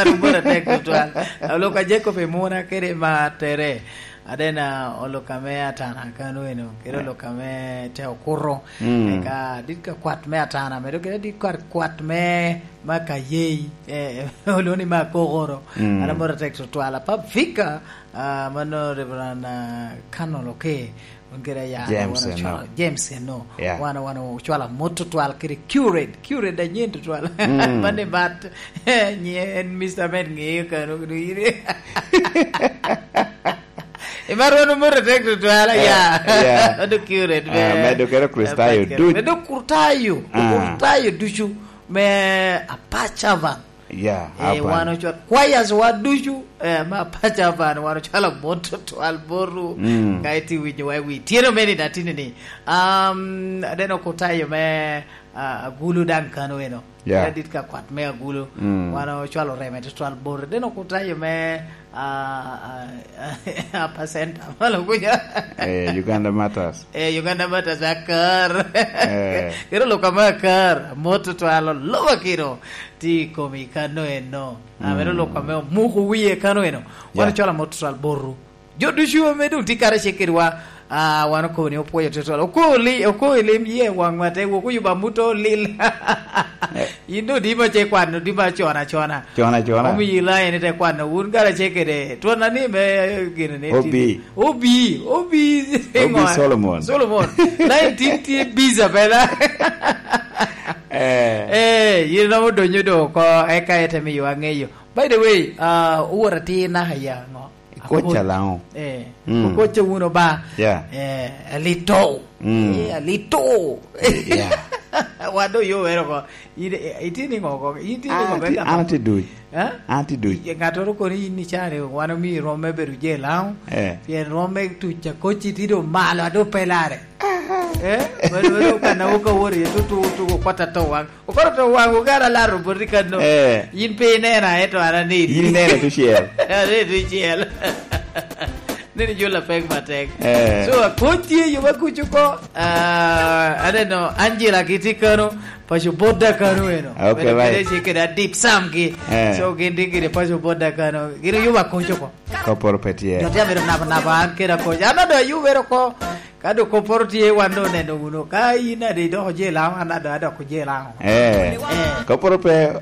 Amor atek tutwal. Aloka Jacob Emuna kede Matere. Adena oloka me Atana kano eno, kede Eh. oloka me te okuto. Mm. Eka dit ka kwat me Atana, medo kede dit kwat, kwat me, ma Kayei, eh, olwoŋo ni ma Kokoro. Mm. An amoro atek tutwal. Apa Vika, ah, mano Reverend, ah, Canon Oke, un kede aya, James wan eno. Ocwalo, James eno. Yeah. Wan, wan ocwalo amot tutwal kede Curate, Curate anyen tutwal. Mm. Mano i bat, nyi en Mister Med ŋeyo kano, kano iri. Imar wan omoto tek tutwal, eh, ya. Yeah. Ado Curate, ah, me medo kero Kristayo Apac Kero. Duc. Medo Kurtayo, ah, Kurtayo ducu me Apac Avan. Yeah, eh, Avan. Wan ocwal, choirs wa ducu, eh, me Apac Avan, wan ocwalo amot tutwal boru. Mm. Ka iti winyo wa i wi. Tyeno meni da tini ni. Um, adeno Kurtayo me, ah, Agulu daŋ kano eno. Yeah. Kede dit ka kwat me Agulu. Mm. Wan ocwalo reme tutwal bor. Then okutayo me, ah, ah, Apa Center, malo kuca. Eh, Uganda Matters. Eh, Uganda Matters akar. Eh. Kero luka me akar, amot tutwal, loba kiro. Ti komi kano eno. Ah, mm, meno luka me omuko wiye kano eno. Wan, yeah, ocwalo amot tutwal boru. Jo ducu ame doŋ tye karacel kedwa, ah, wan okobo ni opwoyo tutwal. Oko li-, oko i lim ye waŋwa te wok oyubo amut olil. Eh. In doŋ di ma ce kwano, di ma con acona. Con acona. Omiyo i line te kwano, wun karacel kede twon ani me gini ni Obi. Obi, Obi, Obi ŋo? Solomon. Solomon. Line tin tye busy bela. Eh. Eh, yin romo donyo do oko, eka ete miyo aŋeyo. By the way, ah, owor atir naka ya ŋo? Ikoc Alaŋo? Eh, mm, okoc wunu ba. Yeah. Eh, alito. Mm. Eh, alito. Yeah. Wan do yo wero ko. Ite, eh, itye ni ŋo ko? Itye ni ŋo? An atye, an atye duc. Eh? An atye duc. Ye ŋattoro kono in icani, wan omi rom me bedo je Laŋo. Eh. Pien rom me tuc akoc iti do malo, ado pelare. Eh? Wero, wero, kana wuka wori, tutu, tutu, kwata to waŋ. Okoro to waŋ ogara laro boti kano. Eh. Yin pe inena, eto an aneni. Yin inena tucel. Aneni tucel. Neni jula pek matek. Eh. So, akoc tye yo ma kuc oko. Ah, aneno Angela gitye kano, paco Boda kano eno. Okay, right. Kede kede Adip Sam gi. Eh. So, gin tye gire paco Boda kano. Gin oyubo akoc oko. Koporo pe tye. Jo tye abedo nabo nabo an kede akoc. An ado ayubere oko. Ka dok kopporo tye, wan dok oneno wunu. Ka in ade idoko je Laŋo, an ado adoko je Laŋo. Eh, eh, kopporo pe.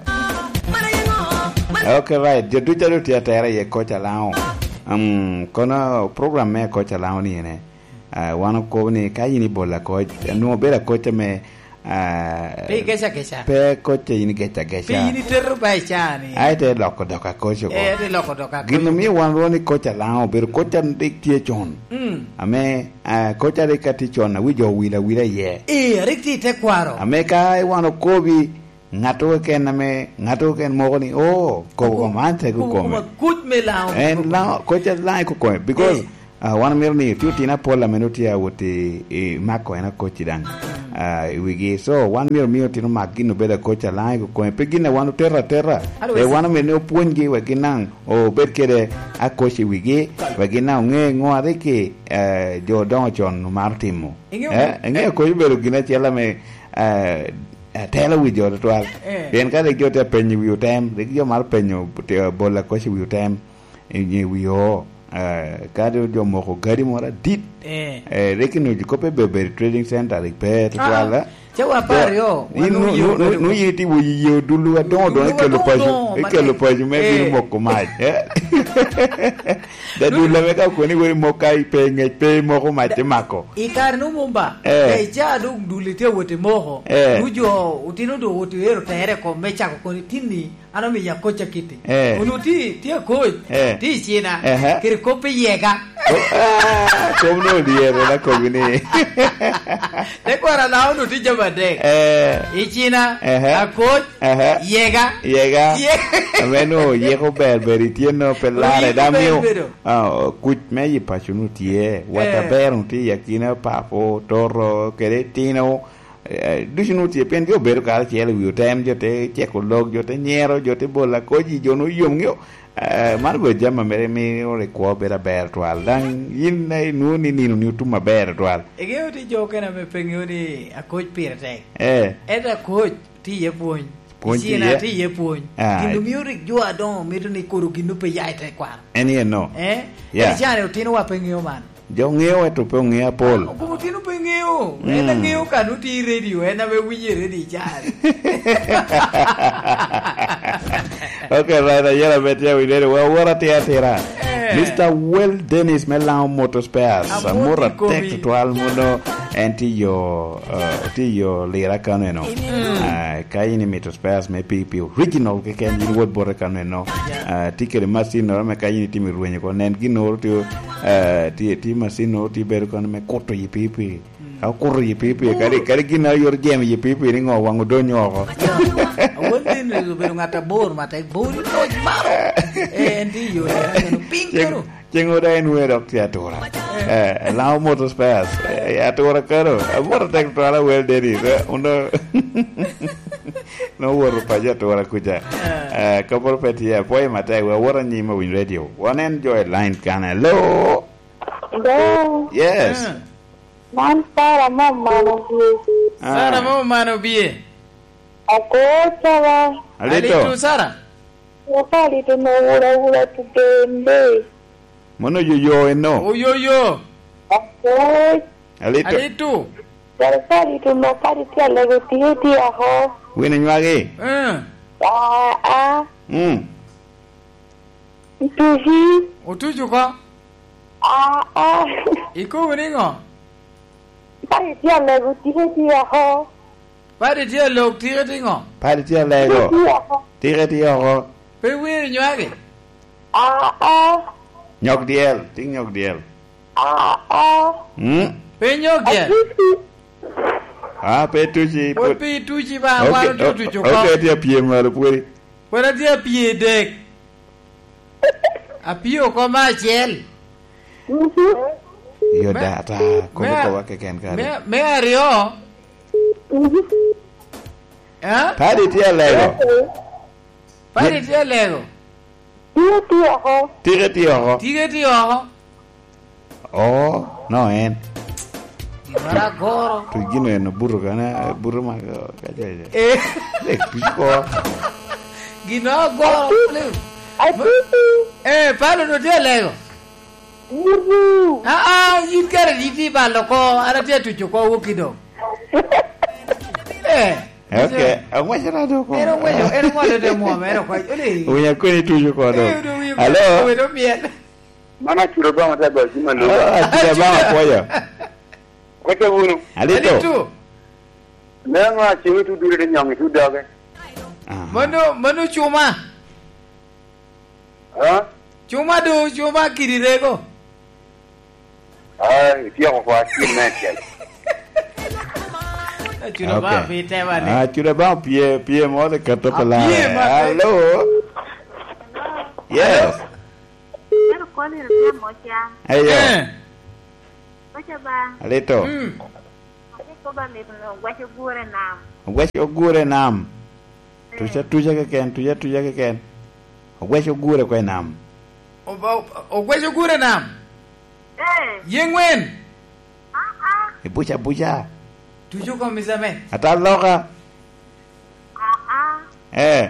Okay, right. Jo ducu adu tye atera iye koc Alaŋo. Um, kono program me koc Alaŋo ni ene. Ah, wan okobo ni ka in ibolo akoc, nwoŋo bedo akoc ame Ah, pe igeca geca. Pe koc a in igeca geca. Pe in iteto ba i caa ni. Ai, te loko dok akoc oko. Eh, te loko dok akoc. Gin omio wan rwoni koc a Laŋo obedo koc a rik tye con. Mm. Ame, ah, koc a rik atye con, a wi jo owil awila iye. Eh, a rik tye i tekwaro. Ame ka wan okobi, ŋat keken ame, ŋat keken moko ni, "Oh, kobo koma an tek okome." Koc me Laŋo. En Laŋo, koc a Laŋo i kokome. Because, eh, ah, wan omito ni otye otino apol ame nongo tye awot i, i mako en akoc i daŋ, ah, i wigi. So, wan myero omi otino mak gin obed akoc a Laŋo i kokome. Pe gin a wan oteto ateta. Otherwise, eh, wan omito ni opwonygi wek gin daŋ obed kede akoc i wigi, wek gin daŋ oŋe ŋo a rik, eh, jo odoŋo con omaro timo. Iŋeo, eh, iŋeo akoc obedo gin acel ame, eh, atelo wi jo tutwal. Eh. Pien ka rik jo tye apenyo wi otem, rik jo maro penyo te-, bolo akoc i wi otem, i nge wi oo. Eh, ka doŋ jo moko gadi moro adit, eh, eh, rik inwoŋo kop i Beberi Trading Center, rik pe tutwal, ah, eh. Ca wa apar aryo, wan nu-, nu-, nu-, nu-, nu-, yie ti wo yie odullu adoŋo doŋo ikelo paco, ikelo paco me bino moko mac, eh. Da dul ame ka okoni weri moko ka ipe i ŋec, pe imoko mac imako. I kare-nu mumba, eh, ka icaa dok dul itye awot imoko, eh, nu jo otino dok owot ero tere kom me cako koni tinni, an omiyo akoc akiti. Eh. Onwoŋo ti, ti akoc, eh, ti i cina, ehe, kede kop i yega. Oh, ah, kom no odyere na kobi ni. Tekwaro Laŋo onwoŋo ti jami adek. Eh. I cina, ehe, akoc, ehe, yega. Yega. Ye- Ame no yeko ber ber itye no pe larre. Oyiko da ber mio bedo. Ah, kuc me yi paco nu tye, wat, eh, aber nu tye i akina papo, toto, kede tino, eh, ducu nu tye, pien jo bedo karacel i wi otem, jo te ceko lok, jo te nyero, jo te bolo akoc, jo nu yom ŋeo. Eh, man obedo jami ame mio rik kwo bedo aber twal. Daŋ yin, eh, inwoŋo ni nino ni otum aber twal. Iŋeo tye jo okene ame pe ŋeo ni akoc pire tek. Eh. Ento akoc tye iye pwony. Pwony tye iye. Icina tye iye pwony. Ah. Gin omio rik jo adoŋo mito ni kodo gin pe ya i tekwaro. En yen no. Eh? Yeah. Ento cani otinowa pe ŋeo man. Jo ŋeo ento pe oŋeo apol. Ah, okobo otino pe ŋeo. Mm. En aŋeo ka nutye i redio, en ame winyo i redio i cani. Ok, right, ayera ame tye awinyo ni wa wora tye atira. Eh. Mister Well Dennis me Laŋo Motor Spares. Amor amor i komi. Atek tutwal muno, en tye yo, eh, tye yo lira kano eno. Mm. Ah, ka in imito spares me P P original keken, in wot bote kano eno. Yeah. Ah, tye kede macinnoro me ka in itimo i rwenyo ko, nen ginnoro tye, eh, tye, tye macinnoro tye bedo kano me kuto i P P. Mm. Ka okuto i P P, kadi, kadi gin a yot jemo i P P ni ŋo waŋ odonyo oko. Yeah. Awol din obedo ŋat abor, matek bor i koc maro. Eh, en tye i yore, en piny kano. Ceng oda en wer dok tye atura. Eh, Laŋo Motor Spares. Eh, atura kano. Amoto tek twala wel Dennis. Eh, uno. No woto paco atura kuca. Eh, kaporo pe tye, apwoyo matek. We awot anyim awiny radio. Wanen jo i line kan. Hello? Hello? Yes. Eh. Man Sara mo mano bie. Ah. Sara mo mano bie. Ako Sara. Alito. Alito, Sara. Wapalito no wura wura tugende. Mono oyoyo eno. Oyoyo. Akoc. Alito. Alito. Wapalito no kadi tye alego tye tye ako. Wino nywagi. Eh. Ah, ah. Mm. Ntuci. Otuco ko. Ah, ah. Ikobo ni ŋo? Kadi tye alego tye tye ako. Padi tye alok, tike tye ŋo? Padi tye alego. Tye oko. Tike tye oko. Pe wiri nywagi? Aa. Nyok dyel, tik nyok dyel. Aa. Mm. Pe nyok dyel? Atuci. Ah, pe tuci. Pwod pe ituci ba, wan otye otuco oko. Ok, tye apye malo pwodi. Pwod atye apye dek. Apio oko me acel. Mhm. Yo me, da, ata, kobo me, kobo keken kare. Me, me aryo. Mhm. Eh? Padi tye alego. Padi tye alego. Tye tye oko. Tike tye oko. Tike tye oko. Oh, no en. Gin moro agoro. Tu gino en obuto kana, buto ma, ka, ka, ka. Eh. Eh, tuc ko. Gin moro agoro. Atutu. Eh, palo no tye alego. Butu. Ah, ah, in kare di tye balo ko, an atye atuco ko woki dong. Eh. Ok, ang'weco rado ko. En ong'weco, en ong'weco te mwom, en okwac, ole. Winyo kweni tuco ko dong. Eh, dong winyo. Alo? Kweni omiel. Mano Acura Obama te goyo cim aloo. Oh, Acura Obama, apwoyo. Koca wunu. Alito. Alito. Neno a cumi tu dure de nyong itu doge. Aha. Mano, mano cuma. Ha? Cuma do, cuma kidi rego. Ah, ityeko kwa cim me acel. Acuda ba. Okay. Pi tema ni. Ah, acuda ba pye, pye mo le kato. Ah, pala. Pye ma pe. Hello. Yes. Hello. Ero koni ria moca. Ayo. Eh. Moca ba. Alito. Mm. Ate koba mit no, gwaco gure nam. Ogwaco gure nam. Eh. Tuca, tuca keken, tuca, tuca keken. Ogwaco gure kwe nam. Oba-, ogwaco gure nam? Eh. Ye ngwen? Ah, ah. Ibuca, buca. Tuco kom isame. Ata loka. Ah, ah. Eh.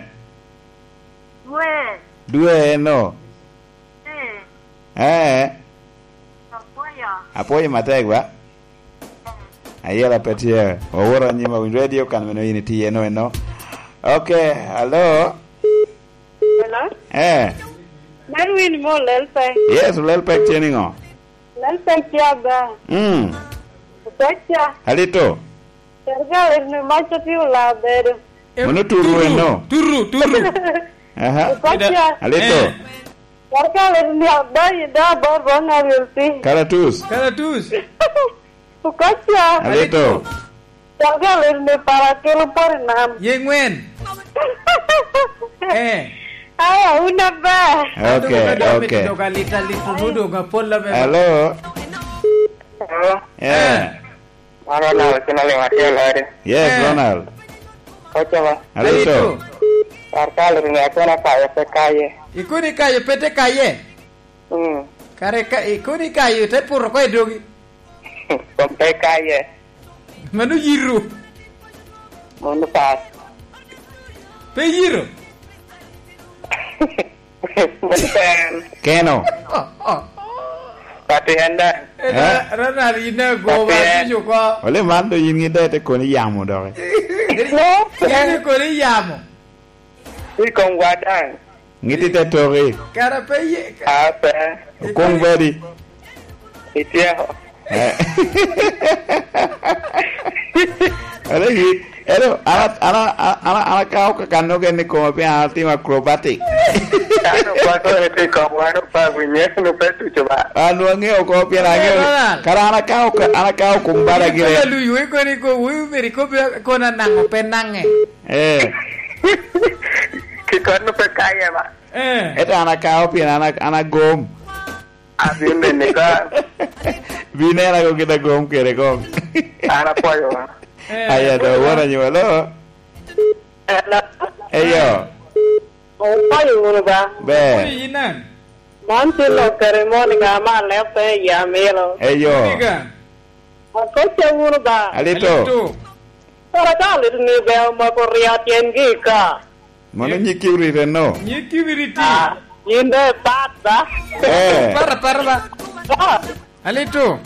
Dwe. Dwe eno. Eh. Eh. Apwoyo. Apwoyo matek ba. Ayela pe tye. Oworo anyim awinyo radio kan meno yin itye eno eno. Okay, hello. Hello? Eh. Mar win mo lel pe. Yes, lel pe tye ni ngo? Lel pe tye ba. Mm. Pe tye. Alito. Serikali ni mac otye olaa bedo. Mono turu eno? Turu, turu. Aha. Okoca. Alito. Eh. Serikali ni adai da bor bor na wilti. Karatus. Karatus. Okoca. Alito. Serikali ni para kelo pori nam. Ye ngwen. Eh. Aya, una ba. Okay, okay. Doga lita, lita, nu doga pola me. Hello. Hello. Eh. Eh. Mano Ronald, kina liŋ atye ladi. Yes, eh. Ronald. Koca ba. Alito. Alito. Kar kal ri ŋe akona kayo pe kaye. Ikoni kayo pe te kaye? Mm. Kare ka, ikoni kayo te puto ko i dogi? Kom pe kaye. Mano yiro. Mano pat. Pe yiro? Keno. Pati en daŋ. Eh? Ronald, yin agoba, atuco oko. Ole man do yin ŋidde te koni yamo doki. Yin te koni yamo. I kom wa daŋ. Ŋitti te toki. Kara pe ye. A, pe. Okong badi. Ityeko. Eh. Alo, yi, alo, an, an, an, an, an akao kakano gen i koma pien an atimo acrobatic. An okwako ni pi kom wan opa winye, nu pe tuco ba. An wangeo oko pien angeo. Eh, Ronald. Kara an akao ka, an akao kom bada gire. Ikola luyo, ikoni ko, wi meri ko be kona nango pe nange. Eh. Kikon nu pe kaye ba. Eh. Eto an akao pien an a-, an agom. Abin bene ka. Binera ko kita gom kere gom. An apwoyo wa. Eh, aya do, wora nyo, hello? Hello? Eyo. Opwoyo wunu ba? Be. Opwoyo yin an? Man tye lok kare mo ni ka ma leb pe i amilo. Eyo. Oniga. Akoca wunu ba? Alito. Alito. Kara ka alito ni be omako ria tyengi i ka. Mano nyig kibrit eno. Nyig kibrit. Ah, yin dong ipat ba? Eh. Para, para ba? Ah. Alito.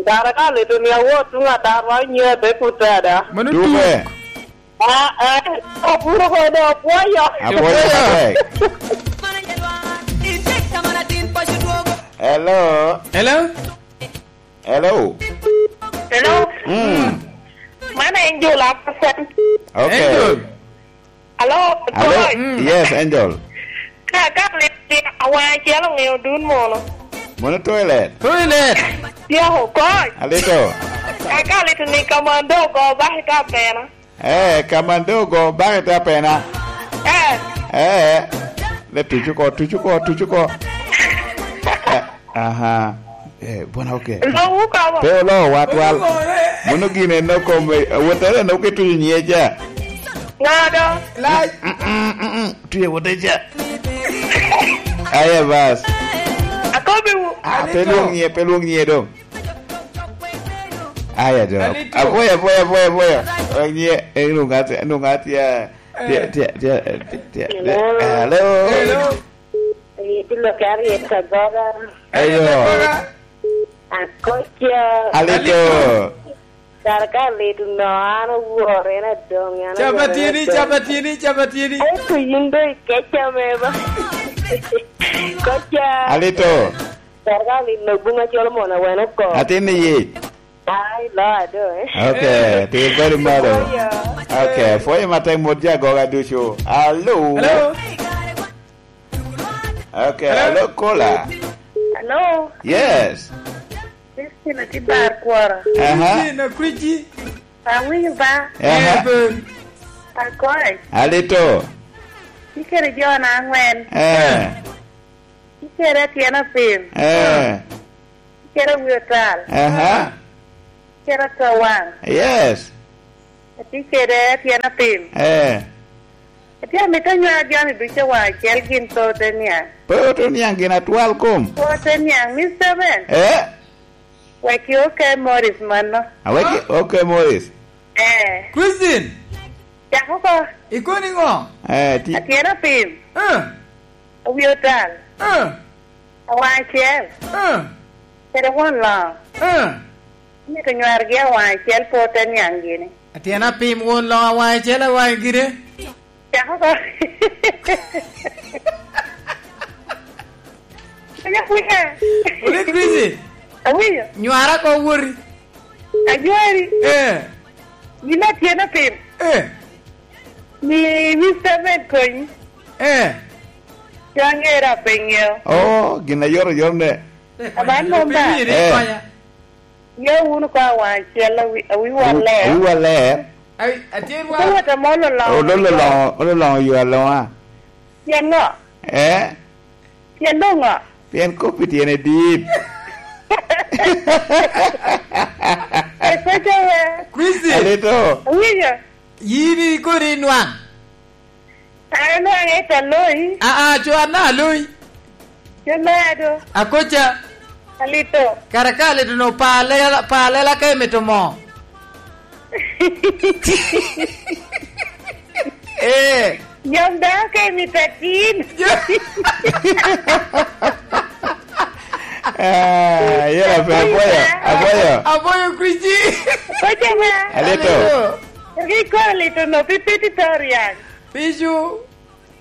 Kara ka alito ni awot tuŋ atarwa onyo ate put ada. Mano tuk. Tuke. Ah, eh, opuro ko do opwoyo. Apwoyo matek. Hello. Hello. Hello. Hello. Mm. Man Angel Apasan. Okay. Angel. Hello, Hello. Coach. Mm. Yes, Angel. Ka, ka liti awaŋ acel oŋeo dun mono. Mono toilet. Toilet. Yako, Coach. Alito. Ka, ka liti ni kamando ogo baki ta pena. Eh, kamando ogo baki ta pena. Eh. Eh. Le tucu ko, tucu ko, tucu ko. Eh. Aha. Eh, bona, okay. Lowu kabo. Pe olo watwal. Mono gine no kom, eh, wotere no ke tuyo nye ja. Ngado. Lai. Mm, mm, mm, mm. Tuye wote ja. Aye bas. Akobi wu. Ah, pe luong nye, pe luong nye do. Aya do. Alito. Apoya, apoya, apoya, apoya. Nye, eh, nungati, nungati, eh, tia, tia, tia, tia, tia. Hello. Hello. Hello. Iti lo kari ita goga. Ayo. Akoca. Alito. Kara ka lit no, an owor, en adong, an owor, en adong. Capatini, capatini, capatini. Ai, to yin do ikeca me ba. Koca. Alito. Kara ka lit no, bunga colo mono awene oko. Atin ni yic. Ai, lo ado, eh. Okay, ti very malo. Apwoyo. Okay, apwoyo matek mot jo agoga ducu. Alo. Hello. Okay, hello, caller. Hello. Yes. Christine Atibar Kwora. Aha. Christine Akwiji. Awinyo ba? Aha. Eh, ben. Akoy. Alito. Ikere jo na angwen. Eh. Ikere atyen apim. Eh. Ikere wi otal. Aha. Ikere atowang. Yes. Atye kede atyen apim. Eh. Atye amito anywar jami ducu wa acel gin pe ote niaŋ. Pe ote niaŋ gin atwal kom. Pe ote niaŋ, Mister Ben. Eh? Wek i OK Morris mano. Awek i OK Morris. Eh. Christine. Cak oko. Ikono iŋo? Eh, ti- Atyen apim. Eh. Awi otal. Eh. Awaŋ acel. Eh. Kede won loŋo. Eh. Omito nywar gi awaŋ acel pe ote niaŋ gini. Atyen apim won loŋo awaŋ acel awaŋ gine. Cako ko. Pwenya, pwenya. Wuli Chrissy. Awinyo. Nywara ko wori. Anywari. Eh. Gin atyen apim. Eh. Ni Mister Ben konyi. Eh. Cwangera pe ŋeo. Oh, gin ayotoyot ne. Aman mom ba. Eh. Ye wun oko awaŋ acel awi-, awiwa ler. Awiwa ler. Ai, atye wa. Ite wot ame ololoŋo. Ololoŋo, ololoŋo yo aloŋa. Pien ŋo? Eh? Pien doŋ ŋo? Pien kop-pi tyene dit. Ekoca we. Chrissy. Alito. Awinyo. Yin ikoni inwaŋ. An anwaŋe i Taloi. Aa, co an daŋ Aloi. Co me Ado. Akoca. Alito. Kara ka alito-nu pa lela, pa lela ka imito moo. Eh. Nyom dano ka imito atin. Ah, yela pe, apwoyo, apwoyo. Apwoyo Chrissy. Koca ma. Alito. Alito. Rik kono alito-nu, pi piti to ryang. Picu.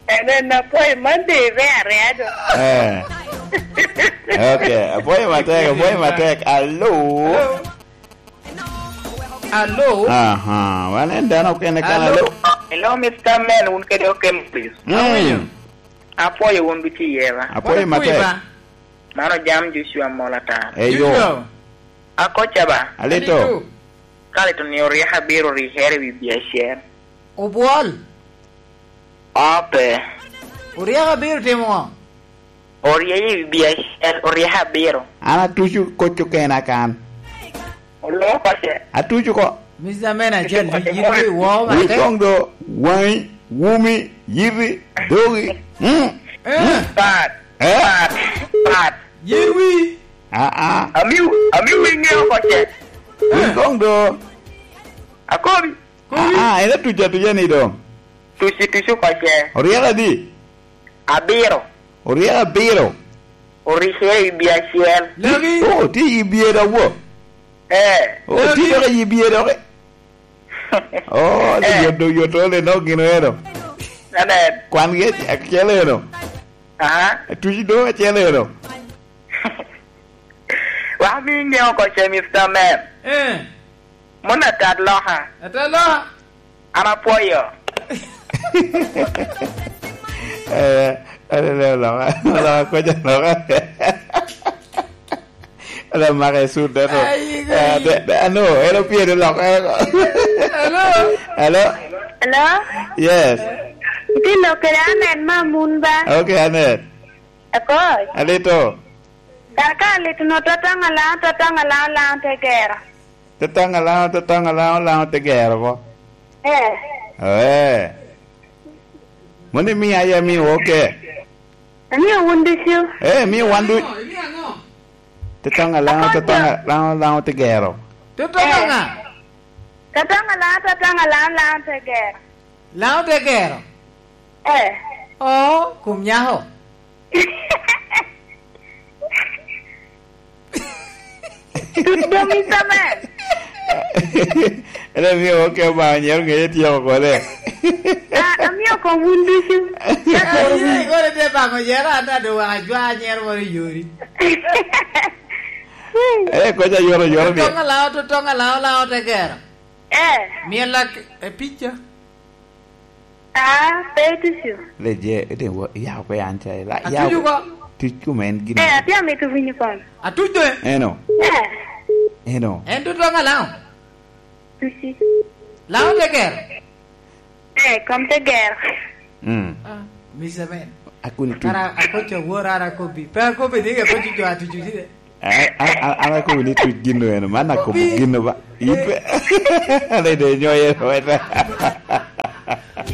En, en apwoyo Monday, re areya do. Eh. Okay, apwoyo matek, apwoyo matek. Alo. Alo. Aha, wan en dano okene kan, alo. Alo. Hello, Mister Men, wun kede okem, please. Mm. Awinyo. Apwoyo wun ducu i yera. Apwoyo matek. Apwoyo ba. Mano jam Joshua Mola ta. Eyo. Joshua. Akoca ba. Alito. Alito. Ka alito ni oryeko abiro orikere i wi biacer. Obwol. Ope. Oryeko abiro timo ŋo? Orye i wi biacer, oryeko abiro. An atuco kocco kena kan. Oloko pace. Atuco ko. Mister Men acel, wi, wi, wi, wo, wi mate. Koŋ do, waŋi, wumi, yiti, dogi. Mm. Eh. Mm. Pat, eh? Pat, pat. Yen wi. Ah, ah. Amiu, amiu wi ŋeo oko ce. Wi koŋ do. Akobi. Kobi. Ah, ah, en atuco atuca ni doŋ. Tuci, tuci oko ce. Oryeko adi? Abiro. Oryeko abiro. Orikere i wi biacer. Lagi. Oh, tye i wi bye dok wo. Eh. Oh, tye dok i wi bye dok. Oh, eh. Yot, yot, ole nok gin eno. Amen. Kwan gi acel eno. Aha. Tuci doŋ acel eno. Wa mi ŋeo oko ce, Mister Man. Eh. Mon atat loka. Atat loka. An apwoyo. Eh, eh, eh, loka, loka, koca loka. Ala maka i sut, dato. Ai, ah, ai. De, de, ano, ero pie de loka. Hello? Hello? Hello? Yes. Itye lok kede Anet ma mun ba? Okay, Anet. Akoc. Alito. Kaka alito no, tataŋ alaŋ, tataŋ alaŋ, alaŋ te gero. Tataŋ alaŋ, tataŋ alaŋ, alaŋ te gero bo. Eh. Eh. Moni mi aya mi oke. Amio wun ducu. Eh, mi wan du. Tataŋ alaŋ, tataŋ alaŋ, alaŋ te gero. Tataŋ alaŋ. Tataŋ alaŋ, tataŋ alaŋ, alaŋ te gero. Laŋo te gero? Eh. Oh, kum nyako. Tut dong i samen. Ene miyo oke ba nyero ngeye tyeko kode. Ah, amiyo kong wun ducu. Ah, yie kore te bako yero ata do waka jwa nyero moro yori. Eh, koca yoro, yoro ni. Totong alao, totong alao, alao te gero. Eh. Miela k-, e pica. Ah, pe tucu. Le je, ite wo, ya ko yan cha, la, ya. Atucu ko. Tuc kuma en gin. Eh, atye amito winyo kong. Atuc de. Eno. Eh. Eno. En totong alao. Tuci. Lao te gero. Eh, kom te gero. Mm. Ah, Mister Man. Akuni tu. Ara, akoco awor, ara akobi. Pe akobi ni ke koco jo atucu tide. A, a, a, ara akobi ni tuc gin eno. Man akobo gin ba. Ipe. Ale de nyoye weta.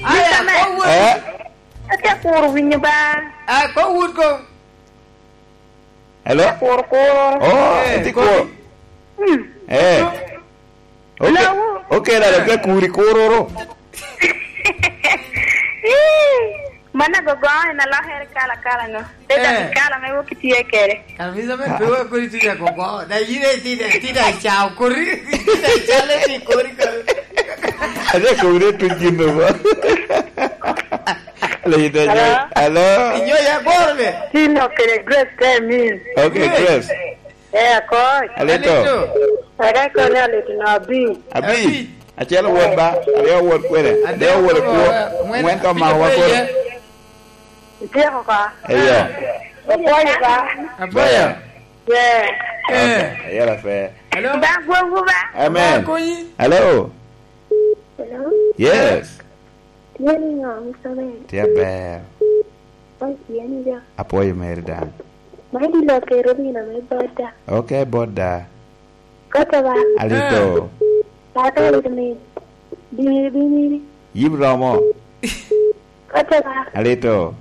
Aya, Mister Man. Ko wot. Eh? Atye akuro winyo ba. Ah, ko wot ko. Hello? Kur, kur. Oh, eh, eti kur. Hmm. Eh. Okay. Lawu. Okay, dada, pe kuri kuroro. Ih, mana gogo en alokere kala kala no. Te dok, eh, i kala me wok itye kede. Kara bisa me pe wa kodi tuja gogo. Da yine ti da, ti da chao kuri. Ti da chale ti kuri kuri. Ade kuri tu jino ba. Hello? Hello? Inyo ya goro le? Tino kede Grace te min. Okay, Grace. Grace. Eh, akoc. Alito. Alito. Ere koni alito no abi. Abi. Abi. Acel owot ba, aryo owot kwene, adek owot kwo, ŋwen, ŋwen ka ma owot kwene. Ityeko ka? Eyo. Apwoyo ka? Apwoyo. Yeah. Eh. Okay, ayera pe. Hello? Ba gwongu ba. Amen. Ba konyi. Hello. Hello? Yes. Tye niŋo, Mister Ben? Tye aber. Kony tye ni jo. Apwoyo meri daŋ. Man dilo kero nino me boda. Ok, boda. Koto ba? Alito. Tata alito ni. Bini, bini. Yib romo. Koto ba? Alito.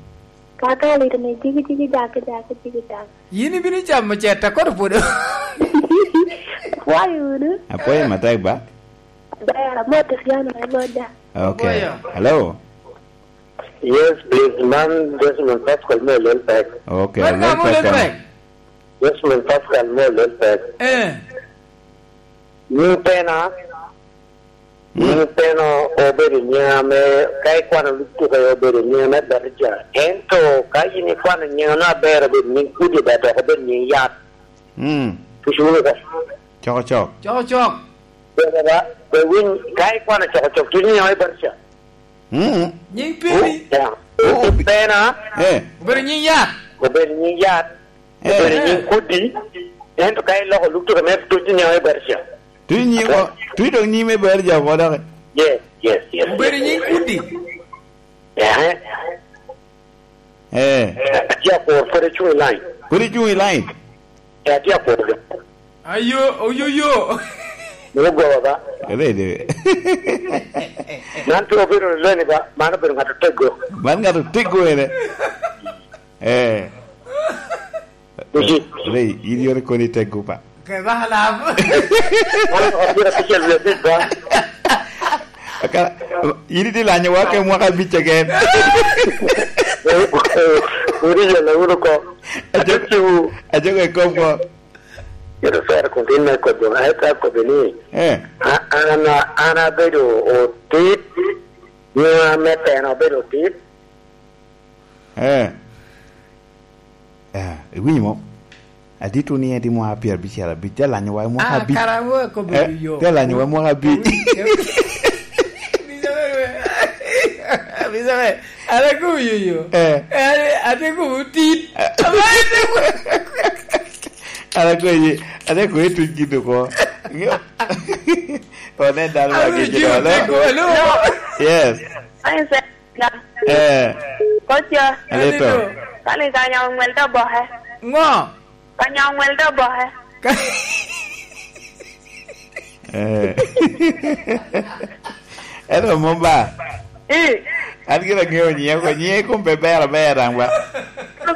Tata alito ni. Jigi, jigi, jaki, jaki, jigi, jaki. Yin ibino camo ceta kono pwod. Apwoyo wunu. Apwoyo matek ba. Ber, amoto Riano, amoda. Okay. Apwoyo. Hello. Yes, please. Man Desmond Pascal me Lelpek. Okay, man Lelpek, Lelpek. Desmond Pascal me Lelpek. Eh. Ni pena, Nying peno obedo nying ame ka ikwano lub tuko obedo nying ame bedo ca. Ento ka in ikwano nying ame aber obedo nying kudi, ber dok obedo nying yat. Mm. Tucu wunu oko. Cokocok. Cokocok. Ber ba, ber winy, ka ikwano cokocok, tuco nying ame bedo ca. Mm. Nying peni. Oh, ya. Oh, obe-, pena. Eh. Obedo nying yat. Obedo nying yat. Eh. Obedo nying kudi, ento ka iloko lub tuko me tuc nying me Berja. Tuc nying o-, tuc dok nying me Berja oko dok. Yes, yes, yes, yes. Obedo nying kudi. Eh. Eh. Atye akuro, pwod icuŋ i line. Pwod icuŋ i line? Eh, atye akuro. Ayo, oyoyo. Mano goba ba. Rede. Man pe obedo leni ba, mano obedo ŋat oteggo. Man ŋat oteggo ene. Eh. Eki. Rei, in yore koni tek gupa. Ke ba lam. Mano abiro abic alwi abic ba. Aka, in iti lanyo wa ke mwaka abic again. Uri yela uru ko. Ajo, ajo ke kom ko. Ito sera kun tin me kobo, ai ka kobo ni. Eh. A-, an, an abedo otit, nyo me teno abedo otit. Eh. Eh, iwinyo mo? Adit wun ni edi mwaka pyerabicel abic, te lanyo wa i mwaka abic. Ah, kara wo akobo yo. Eh, te lanyo wa i mwaka abic. Bisa me, bisa me, ala ko yo yo. Eh. Eh, ate ko tit. Eh. Ama ate ko. Ala ko ye, ate ko ye tuj gido ko. One dal ma gi gido. Hello. Yes. Ai, se-, Eh. Koca. Alito. Kani kanya oŋwel to boke. Ŋo? Kanya oŋwel to boke. Ka- Eh. Ento mom ba? Eh. An gin aŋeo nyiŋe oko, nyiŋe kom pe ber aber daŋ ba? Ŋo?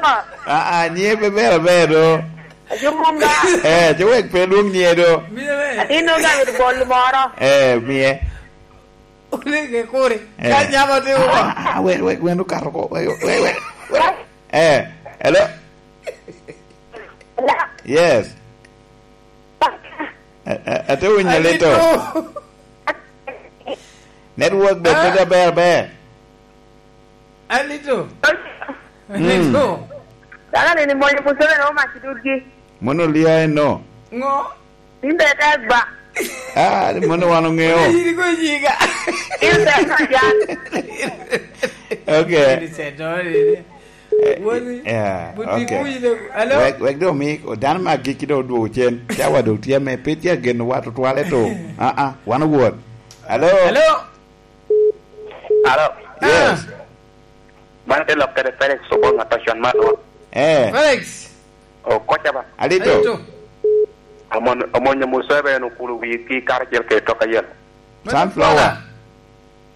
Ah, ah, nyiŋe pe ber aber do. Ajo mom ba? Eh, ce wek pe lwong nyiŋe do. Atin nongo amito bol moro. Eh, miye. Olege kore. Eh. Ka nyama te wo. Ah, ah, wek, wek, wek okato ko. Wek, wek, wek, wek. Eh, hello? Hello? Yes. Eh, eh, ate winyo Alito. Alito. Network be pe aber, ber. Alito. Mm. Alito. Dano ni, ni moyo Museveni omac i dudgi. Mono lia eno. Ngo? In be tek ba. Ah, ni mono wan ongeo. Yiri ko yiga. In be ka yan. Okay. Ini seto ini. Wani. Yeah, buti okay. Kuyi de. Hello? Wek, wek do mi, o dan ma giki do duogo cen. Cawa do tye me, pe tye geno wa tutwale to. Ah, ah, wan owuot. Hello? Hello? Hello? Yes. Ah. Man te lok kede Felix Obong Atocon man wa. Eh. Felix. O koca ba. Alito. Alito. Amon-, omonyo Museveni okulu wigi karacel kede tok ayel. Sunflower.